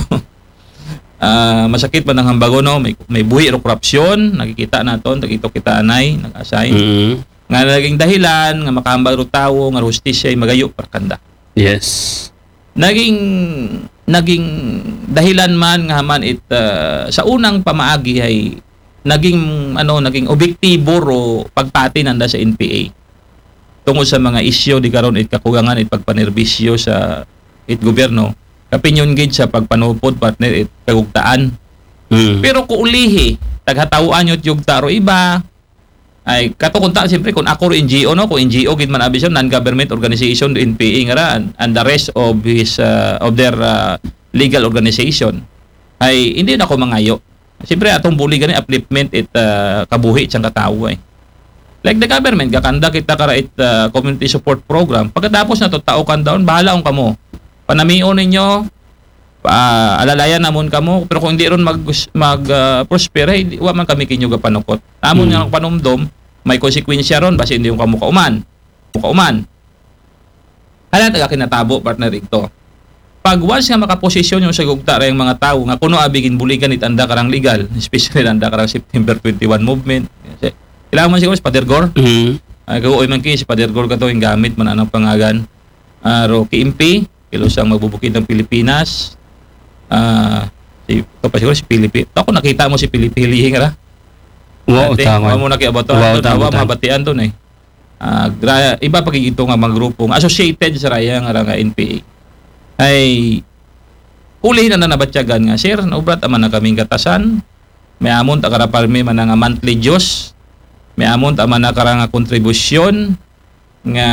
Ah, masakit man ang hambagon, no? May, may buhi ro korupsyon, nakikita naton, tagito kita anay, nag-assign. Mm. Nga naging dahilan nga makahambal ro tawo nga hustisya ay magayo para kanda. Yes. Naging, naging dahilan man nga man it, ah, sa unang pamaagi ay naging, ano, naging objektibo ro pagpati nanda sa N P A tungod sa mga isyu di karon it kakugangan it pagpanerbisyo sa it gobyerno, kapinyon gid sa pagpanupod, partner, it kagugtaan. Mm. Pero kuulihi, taghataw-an yut yugta ro iba, Ay, kato kunta, siyempre, kung ako rin N G O, no? Kung N G O, gid man abi siya, non-government organization, N P A, nga ra, and, and the rest of his, uh, of their, uh, legal organization. Ay, hindi na ako mangayo. Siyempre, atong buligan ni upliftment it, uh, kabuhi siyang katawo, eh. Like the government, gakanda kita kara it, uh, community support program. Pagkatapos na to, tao kan daon, bahala kung kamo. Panamion ninyo, pa, alalayan namon kamo, pero kung hindi ron mag, mag, uh, prosper, ay, di, wa man kami kinyo gapanukot. Amon Hmm. nga panumdom, may konsekwensya ron, basi hindi yung kamo kauman. Kauman. Hala, taga kinatabo, partner, igto. Pag once nga makaposisyon yung sa gugta ra yung mga tao nga kuno abi ginbuligan it anda karang legal, especially anda karang September twenty-one movement. Kasi, kailangan man siguro si Father Gore. Mm. Ay, kagoy man ki si Father Gore kato, yung gamit man anang pangagan. Ah, ro K M P, kilo sang magbubukid ng Pilipinas. Ah, si, ito pa siguro si Pilipi. Ako nakita mo si Pilipi Hilihing, ra? Wow, Dati, tama. Wa mo nakiabato. Wow, Wa tama, mo tama. mabatian to, eh. Ah, gra-, iba pa gid ito nga mga grupo nga associated sa raya nga ra nga N P A. Ay, uli na na nabatyagan nga, "Sir, naubrat naman na kaming gatasan. May amon ta kara parmi man nga monthly dues. May amon ta man na kara nga kontribusyon nga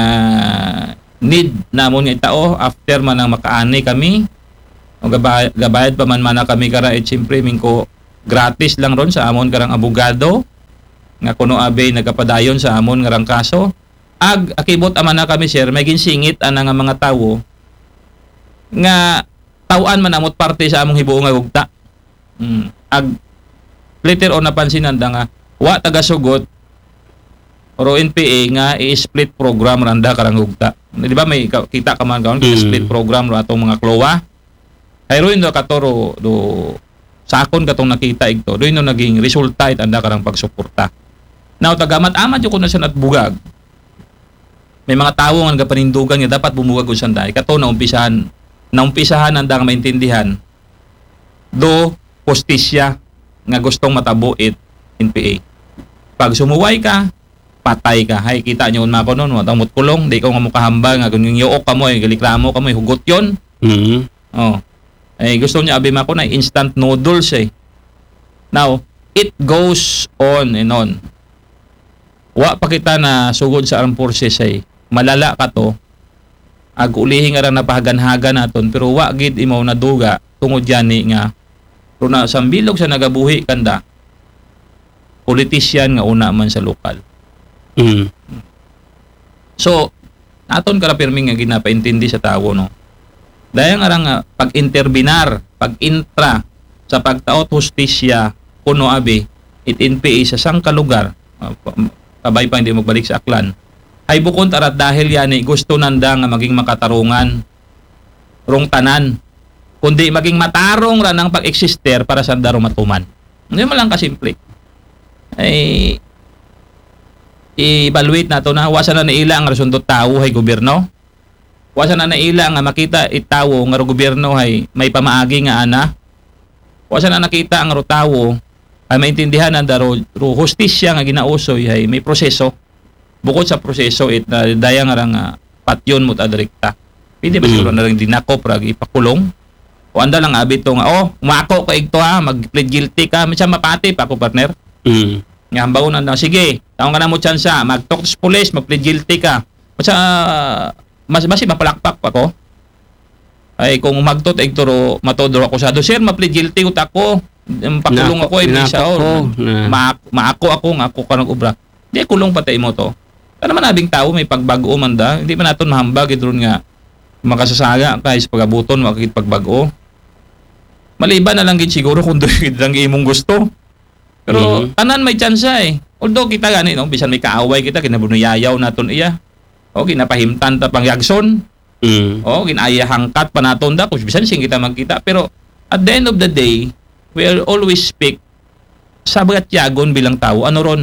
need namon nga itao after man ang makaani kami. O gaba-, gabayad pa man man na kami kara, eh, siyempre, mingko gratis lang ron sa amon karang abogado nga kuno abi nagapadayon sa amon nga rang kaso. Ag akibot aman na kami, sir, may ginsingit ana nga mga tawo nga taw-an man amot parte sa among hibuo nga gugta." Mm. Ag later on, napansin nanda nga wa tagasugot or N P A nga i-split program randa karang gugta. Di ba may ka-, kita ka man karon, Mm. split program ro atong mga klowa. Ay, ruin do kato ro, do, sa akon katong nakita igto, ruin do naging resulta it anda karang pagsuporta. Now, tagamat-amat yung kuno sa natbugag. May mga tawo nga nagapanindugan nga dapat bumugag kung saan dahil. Kato, naumpisahan, naumpisahan ang dang maintindihan do hustisya nga gustong matabo it N P A. Pag sumuway ka, patay ka. Hay, kita nyo unma ko nun, matang mutkulong, di ko nga mukahambal nga kung yung yuok ka mo, eh, galiklamo ka mo, eh, hugot yun. Mm. Oh. Eh, gusto niya, abi ma ko na instant noodles, eh. Now, it goes on and on. Wa pa kita na sugod sa armed forces, ay malala ka to. Ag ulihi nga ra napahagan-hagan naton, pero wa gid imaw naduga tungod yani nga runa sa bilog sa nagabuhi kanda, politician nga una man sa lokal. Mm. So, naton kara pirmi nga ginapaintindi sa tawo, no? Daya nga ra nga pag-interbinar, pag-intra sa pagtaot hustisya, kuno abi, it N P A sa sangka lugar, ah, pa-, kabay pa hindi magbalik sa Aklan. Ay bukon tara dahil yani gusto nanda nga maging makatarungan rong tanan, kundi maging matarong ra ng pag-eksister para sa daro matuman. Hindi mo lang kasimple. Ay, i-evaluate nato na, wa sa na naila ang rason do tawo hay gobyerno. Wa sa na naila nga makita it tawo nga ro gobyerno hay may pamaagi nga ana. Wa sa na nakita ang ro tawo ay maintindihan ang daro ro hustisya nga ginausoy hay may proseso. Bukod sa proseso, it na daya nga ra nga patyon mo ta direkta. Pwede ba Mm. siguro na rin dinakop ra ipakulong? O anda lang abi to nga, "Oh, umako ka igto ha, mag-plead guilty ka." Minsan mapati pa ako, partner. Mm. Nga hambaw na, na, "Sige, taong ka na mo tsansa, mag-talk sa pulis, mag-plead guilty ka." Sa, mas, basi mapalakpak pa ko. Ay, kung magtot, igturo, matodro ako sa do, "Sir, ma-plead guilty ko, tako. Pakulong Nako-, ako, eh, bisa, nako oh, ko, na. ma-, maako ako, nga ako ka nag-ubra." Di, kulong patay mo to. Ano man abing tao, may pagbago man da. Hindi man naton mahambag, idron nga makasasaga ka, is pagabuton, makakit pagbago. Maliban na lang gid siguro kung doon gid lang imong gusto. Pero Mhm. tanan may tsansa, eh. Although kita gani, no, bisan may kaaway kita, kinabunuyayaw naton iya. O, kinapahimtan ta pang yagson. Mm. O, ginaya hangkat pa naton da, kung bisan sing kita magkita. Pero at the end of the day, we will always speak sa bagatyagon bilang tao. Ano ron?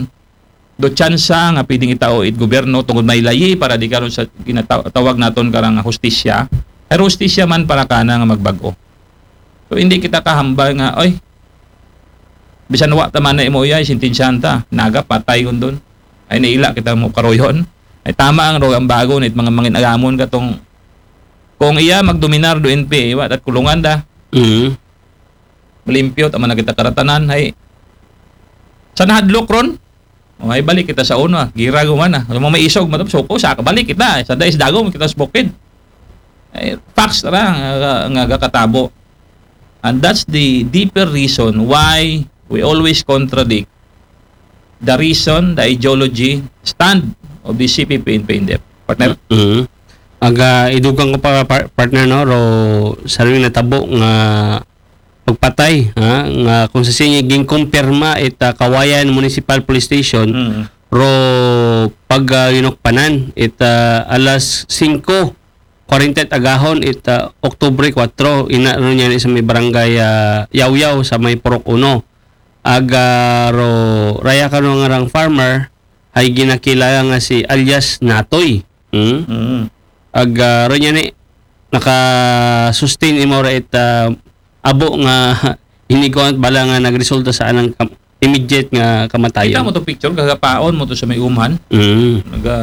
Do tsansa nga pwedeng itao it gobyerno tungod may layi para di karon sa ginataw-, tawag naton karang hustisya. Pero hustisya man para kana nga magbago. So, hindi kita kahambal nga, "Oy, bisan wa ta man na imo iya, sentensyahan ta. Naga, patay kun doon. Ay, naila kita mo karoyon." Ay, tama ang rogang bago nit mga mangin agamon katong, kung iya magdominar do N P A, wa tat kulungan da. Mm. Malimpyo, tama na kita karatanan. Ay, sa nahadlok ron, O, ay balik kita sa una. Gira ko man, ah. Yung mga may isog, matapos ko, sa balik kita. Sa dais dagom kita sa bukid. Ay, facts ra nga, nga gakatabo. And that's the deeper reason why we always contradict the reason, the ideology, stand of the C P P N P N D F. Partner? Mm. Aga, idugang ko pa, par- partner, no, ro, sa rin natabo nga pagpatay, ha, nga kung sa sinye ginkumpirma it ah, Kawayan Municipal Police Station, Mm. ro pag ah, yunukpanan, it ah, alas singko kwarenta agahon, it ah, Oktubre kwatro, ina ro niya ni sa may barangay ah, Yawyaw sa may Purok Uno. Aga ro raya kano nga rang farmer, ay ginakilala nga si alias Natoy. Hmm? Mm. Aga ro niya ni naka-sustain imo ra it ah, abo nga iniguan bala nga nagresulta sa anang kam- immediate nga Kita kamatayon. mo to picture, gagapaon mo to sa may umhan. Mm. Naga,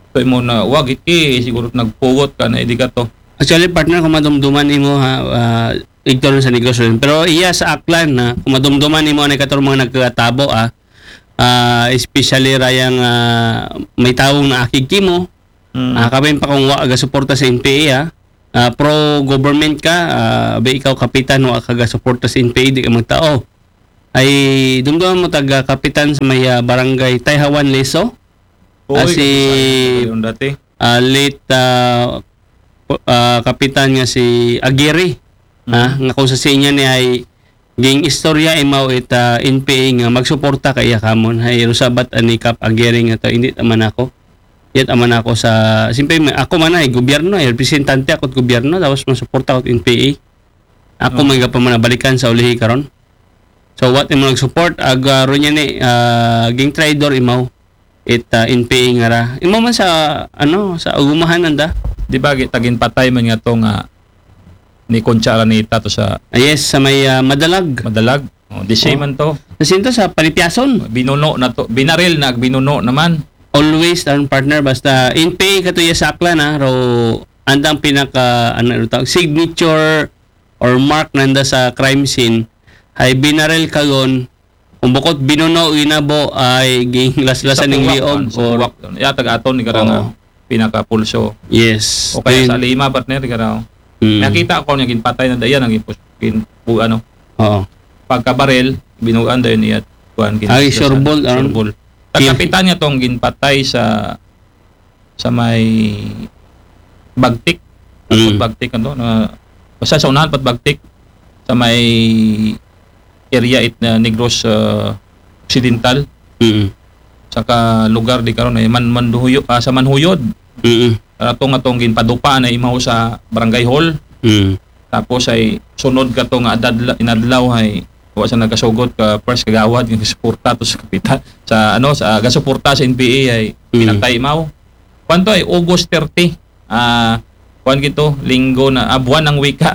to mo na, wag iti, siguro nagpugot ka na, hindi ka to. Actually, partner, kung madumduman nimo ha, ah, igto rin sa negosyo rin. Pero iya sa Aklan na, kung madumduman nimo na ikator mga nagkatabo ah, ah, especially rayang ah, may tawong naakig kimo, Mm. ah, kami pa kung wa aga suporta sa N P A ah, ah, pro government ka, ah, ba ikaw kapitan wa ka suporta sa N P A, di ka magtao. Ay dumduman mo taga kapitan sa may ah, barangay Tayhawan Leso. Uy, Ah, si- kapitan ko yun dati. Ah, late ah, po- ah, kapitan nga si Aguirre, Mm. ah, nga kung sa sinya ni ay ging istorya imaw it ah, N P A nga magsuporta kaya kamon, hay rusabat ani Kap Aguirre nga to, hindi taman ako. Yat aman ako sa, siyempre may- ako man ay gobyerno, ay representante ako at gobyerno, tapos masuporta ako at N P A. Ako Oh. may gapamanabalikan sa ulihi karon. So what imo nag-support, aga ro niya ni ah, ging traitor imaw it ah, N P A nga ra. Imo man sa ano, sa umahan nanda. Di ba, gi- tagin patay man nga to nga ni Concha Araneta to sa Ah, yes, sa may ah, Madalag. Madalag. Oh, di same Oh. man to. Nasinto sa Panipyason. Binuno na to. Binaril na, binuno naman. Always ang partner basta N P A katuya sa Aklan ha, ro andang pinaka ano ito tawag, signature or mark nanda sa crime scene ay binaril kayon, kung bukod binuno ginabo ay ginglaslasan ng Sa liog kuwak, sa or kuwak. Yatag aton ni karang Oo. pinakapulso. Yes. O kaya Then, sa lima, partner, di karang. mm, Nakita ko niya ginpatay na daya, naging pus-, gin, bu, ano, Oo. pagkabaril, binugan dayon niya, kuan, gin-, Ay, sa- sureball, ah. Sureball. Kin- Kapitan niya tong ginpatay sa sa may Bagtik. Mm. Bagtik ano, na, basta sa unahan pat Bagtik, sa may area it na Negros ah, Occidental, Mm. saka lugar di karon ay man Manduhuyo, ah, sa Manhuyod. Mm. Atong atong ginpadupa na imaw sa barangay hall. Mm. Tapos ay sunod ka to nga adadla, inadlaw ay wa sa nagkasugot ka first kagawad nga suporta to sa kapitan sa ano sa gasuporta sa N P A ay Mm. pinatay imaw. Kwanto ay August thirty. Ah, kwan gito, linggo na, ah, buwan ng wika.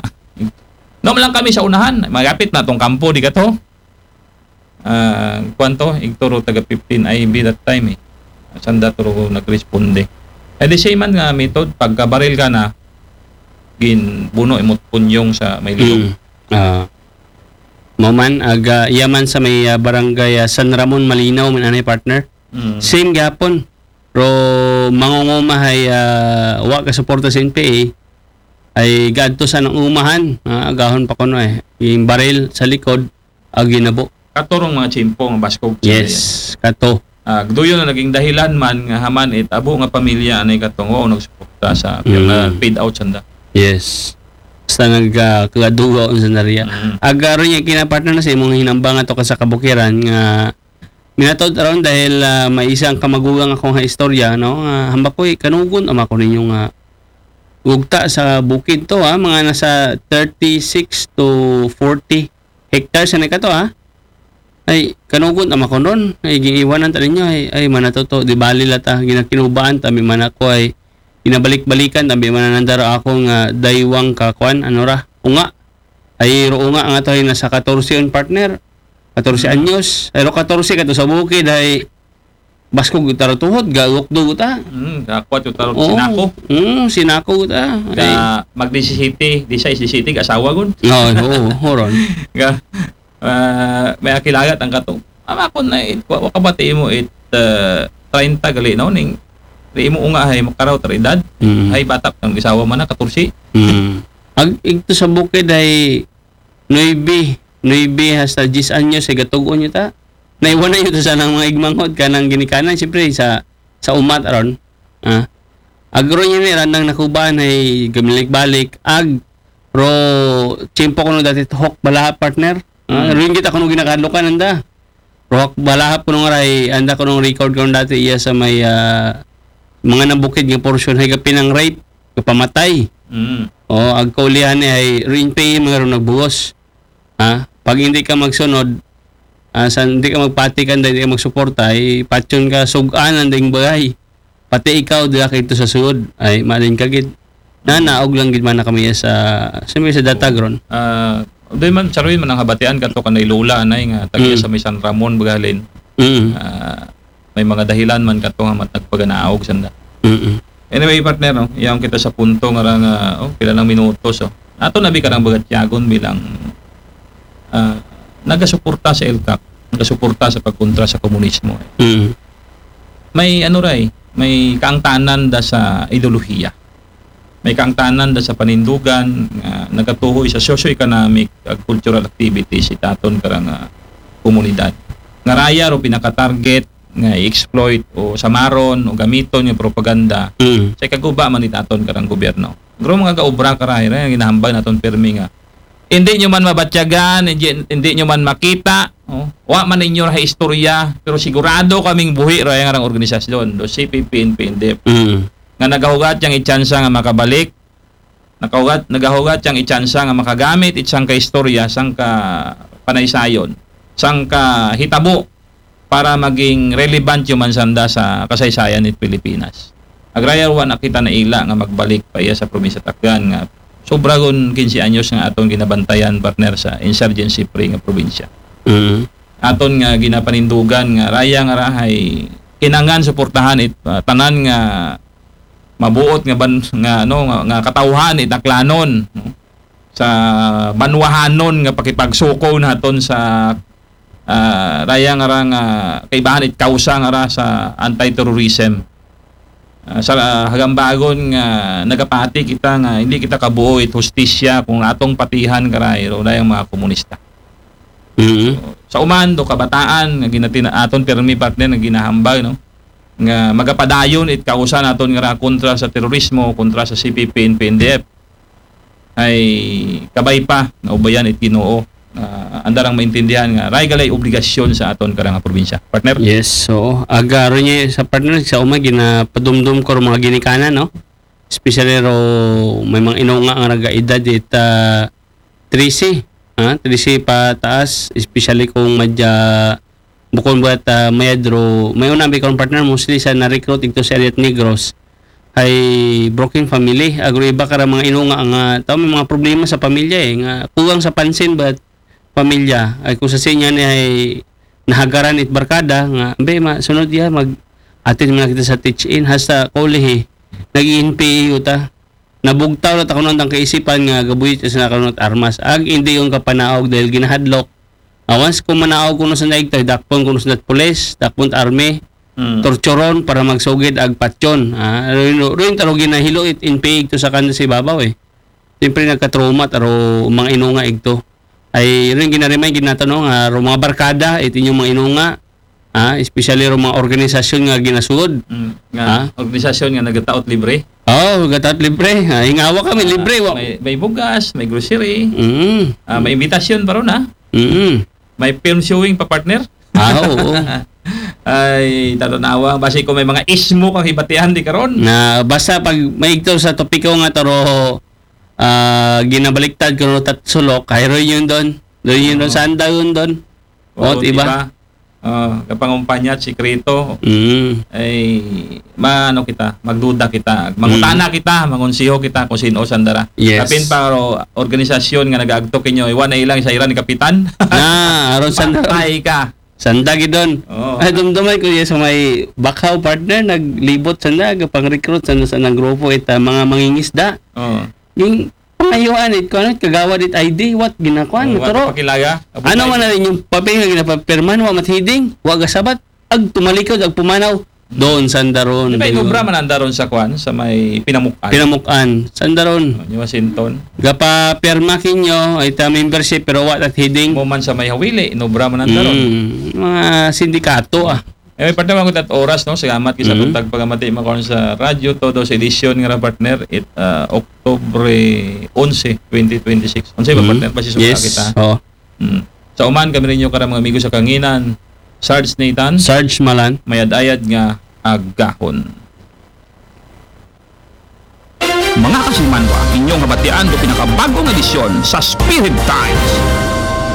No lang kami sa unahan, magapit na tong kampo di ka to. Ah, kwanto, igturo taga fifteen I B that time eh. Sanda turo ko nagresponde. Eh di siya man nga method, pagkabaril ka na, ginbuno imot punyong sa may liog. Mm. Ah. Mao man, aga, iya man sa may ah, barangay ah, San Ramon Malinaw man anay partner. Mm. Same gapon. Pero mangungumahay ah, wa ka suporta sa N P A ay gadto sa nang umahan, ah, agahon pa kuno eh. Yung baril sa likod, ag ginabo. Katurong mga tsimpo nga baskog. Yes, kato. Ah, duyon na naging dahilan man nga haman it abo nga pamilya anay katong wa nagsuporta sa Mm. nga paid out sanda. Yes. Basta nagkagadugaw sa nariya. Mm. Agaro niya kinapartner na sa imong hinambang ato ka sa kabukiran nga minatod aron dahil ah, may isang kamagugang ako nga istorya, no? Nga hambak ko'y kanugon ama ko ninyo nga gugta sa bukid to ha, mga nasa thirty-six to forty hectares na kato ha. Ay, kanugon ama ko ron. Ay, giiwanan ta ninyo. Ay, ay mana to to. Di bali la ta. Ginakinubaan ta. May mana ko ay ginabalik-balikan. Tabi mana nandaro ako nga daywang ka kwan. Ano ra? Unga. Ay, ro unga nga to ay nasa katorse on partner. Katorse Mm. anyos. Ay, ro katorse ka to sa bukid. Ay, baskog taro tuhod. Gawok do ta. Mm, kakwat yung tarot Oo. sinako. Mm, sinako ta. Ay, Ka mag disisiti, disay disisiti, asawa gun. no, oo, horon. Nga, ah, may akilagat ang kato. Ama ko na it, wa, wa ka ba ti imo it, ah, treinta gali, no? Ning, di imo unga hay makaraw ta edad. Mm. Hay bata, ang gisawa man na, katorse. Mm. Ag, igto sa bukid ay nuebe, nuebe hasta diyes anyos ay gatug-on niyo ta. Naiwan na yun sa nang mga igmanghod, kanang ginikanan, siyempre, sa, sa umat aron. Ah. Ag ro niya ni, randang nakuban ay gamilik-balik. Ag, ro, tiyempo ko no dati tuhok bala, partner. Ah, Mm. ro yung kita ko no ginakalukan, anda. Rohak balahap kuno nga ray, anda kuno record kuno dati iya sa may, ah, mga nabukid nga portion hay gapinang rape, gapamatay. Mm. O, ag kaulihan ni ay rin pa yung mga ron nagbuhos. Ha? Pag hindi ka magsunod, ah, sa, hindi ka magpatikan, hindi ka magsuporta, ay patyon ka, sugaan ang ding bagay. Pati ikaw, di ka ito sa sud. Ay, malin ka gid. Na, naog lang gid man na kami sa, sa may sa datag ron. Ah, di man, saruin man ang habatian kato kanay Lola, anay nga, tagiya Mm. sa may San Ramon, bagalin. Mm. Ah, may mga dahilan man kato nga mat-, nagpaganaog, sanda. Mm. Anyway, partner, no? Iyang kita sa punto nga ra nga, oh, pila ng minutos, oh. Ato na bi karang bagatyagon bilang, ah, nagasuporta sa ELCAC, nagasuporta sa pagkontra sa komunismo, eh. Mm. May ano ray, may kaangtanan da sa ideolohiya. May kaangtanan da sa panindugan nga nagatuhoy sa socio-economic ag cultural activities itaton karang, ah, komunidad. Nga raya ro pinaka-target nga i-exploit o samaron o gamiton nga propaganda Mm. sa ikaguba man itaton karang gobyerno. Pero mga gaobra karay, ray, ang ginahambal naton pirmi nga hindi nyo man mabatyagan, hindi, hindi nyo man makita, oh, wa man ninyo ra istorya, pero sigurado kaming buhi ra yang arang organisasyon, do C P P, N P, N D F. Mm. Nga nagahugat yang itsansa nga makabalik, nagahugat, nagahugat yang itsansa nga makagamit itsang ka istorya, sang ka panaysayon, sang ka hitabo, para maging relevant yung mansanda sa kasaysayan ng Pilipinas. Agrayar wa na kita naila nga magbalik pa iya sa probinsya Takgan nga sobra gun kinse anyos nga aton ginabantayan, partner, sa insurgency free nga probinsya. Mm. Aton nga ginapanindugan nga raya nga rahay kinangan suportahan it, ah, tanan nga mabuot nga ban-, nga, ano, nga, nga katawhan it Aklanon, no? Sa banwahanon nga pakipagsuko naton sa, ah, raya nga ra nga kaibahan it kausa nga ra sa anti-terrorism. Ah, sa, ah, hagambagon nga nagapati kita nga hindi kita kabuo it hustisya kung atong patihan karay ro dayang mga komunista. Mm. Sa uman do kabataan nga ginatina-, aton pirmi, partner, nga ginahambal, no? Nga magapadayon it kausa naton nga ra kontra sa terorismo, kontra sa C P P, N P, N D F. Ay kabay pa nga ubayan it Ginoo. Ah, andarang maintindihan nga ray galay obligasyon sa aton karang probinsya. Partner? Yes, so, aga ro niya sa, partner, sa uma, ginapadumdum ko ro mga ginikanan, no? Especially ro may mga inunga nga nagaedad it, ah, trese, ha? Trese pataas, especially kung madya, bukon buhat, ah, mayad ro, may una, may kong partner, mostly sa na-recruit ito sa area Negros, ay broken family. Ag ro iba kara mga inunga nga, tao may mga problema sa pamilya, eh, nga kuwang sa pansin, but pamilya, ay kung sa sinya ni ay nahagaran it barkada, nga, ambe, ma, sunod ya, mag-attend man kita sa teach-in, hasta college, nag-N P A yuta. Nabugtaw na ta kuno ang kaisipan nga gabuhit sa na kuno armas. Ag hindi yung kapanaog dahil ginahadlok. Ah, once kung manaog kuno sa naigtay, dakpon kuno sa pulis, dakpon army, Mm. torturon para magsugid ag patyon. Ah, rin, rin taro ginahilo it N P A igto sa kanto sa ibabaw, eh. Siyempre nagka-trauma taro mga inunga igto. Ay, rin ginaremay ginatanong, ah, ro mga barkada, it inyong mga inunga, ah, especially ro mga organisasyon nga ginasud. Mm, nga Ah? organisasyon nga nagataot libre. Oh, nagataot libre. Ah, ingawa kami, Ah, libre, wa- may, may bugas, may grocery. Mm. Ah, may imbitasyon pa ron, ha? Mm. May film showing pa, partner. Ah, oo. Ay, tarunawa. Basi kung may mga ismo kang hibatihan di karon. Na, basta pag maigto sa topiko nga taro, ah, ginabaliktad kuno tat sulok, kay reunion don. Reunion don, Oo. Sanda yun don. Oo, O, diba? Oh, kapangumpanya at sikreto. Mm. Ay, maano kita, magduda kita. Mangutana Mm. kita, mangonseho kita kung sino sandara. Yes. Kapin pa ro organisasyon nga nagaagto kinyo, iwan na ilang sa iran kapitan. Na, aron sanda. Patay ka. Sanda gid don. Oo. Ay, dumdumay ko, yes, sa may Bakaw, partner, naglibot sanda, gapang-recruit sanda sa nang grupo, ita, mga mangingisda. Oo. Yung, Ayuan it kuan, kagawad it I D, what ginakuan, Oh, wa turo. Pakilaga. Ano man na rin yung papel nga ginapapirman, wa mat heading, wa gasabat, ag tumalikod, ag pumanaw, doon sandaron. Di ba, doon. Inubra man ang daron sa kuan, sa may Pinamukan. Pinamukan, sandaron. Oh, ni Washington. Gapapirma kinyo, ay ta membership, pero wa tat heading. Mo man sa may Hawili, Inubra man ang daron. Mm, mga sindikato ah. Eh, may partner, mga oras, no? Salamat kay sa Mhm. buntag pagamati, mga karon sa radyo, todo sa edisyon nga ra, partner, it, ah, October onse, twenty twenty-six. Unsay ba, Mhm. partner? Basi sa Yes. kita. Oh. Mm. Sa uman, kami ninyo karang mga amigo sa Kanginan, Sarge Nathan, Sarge Malan. Mayad-ayad nga agahon. Mga kasimanwa, inyong habatian do pinakabagong edisyon sa Spirit Times.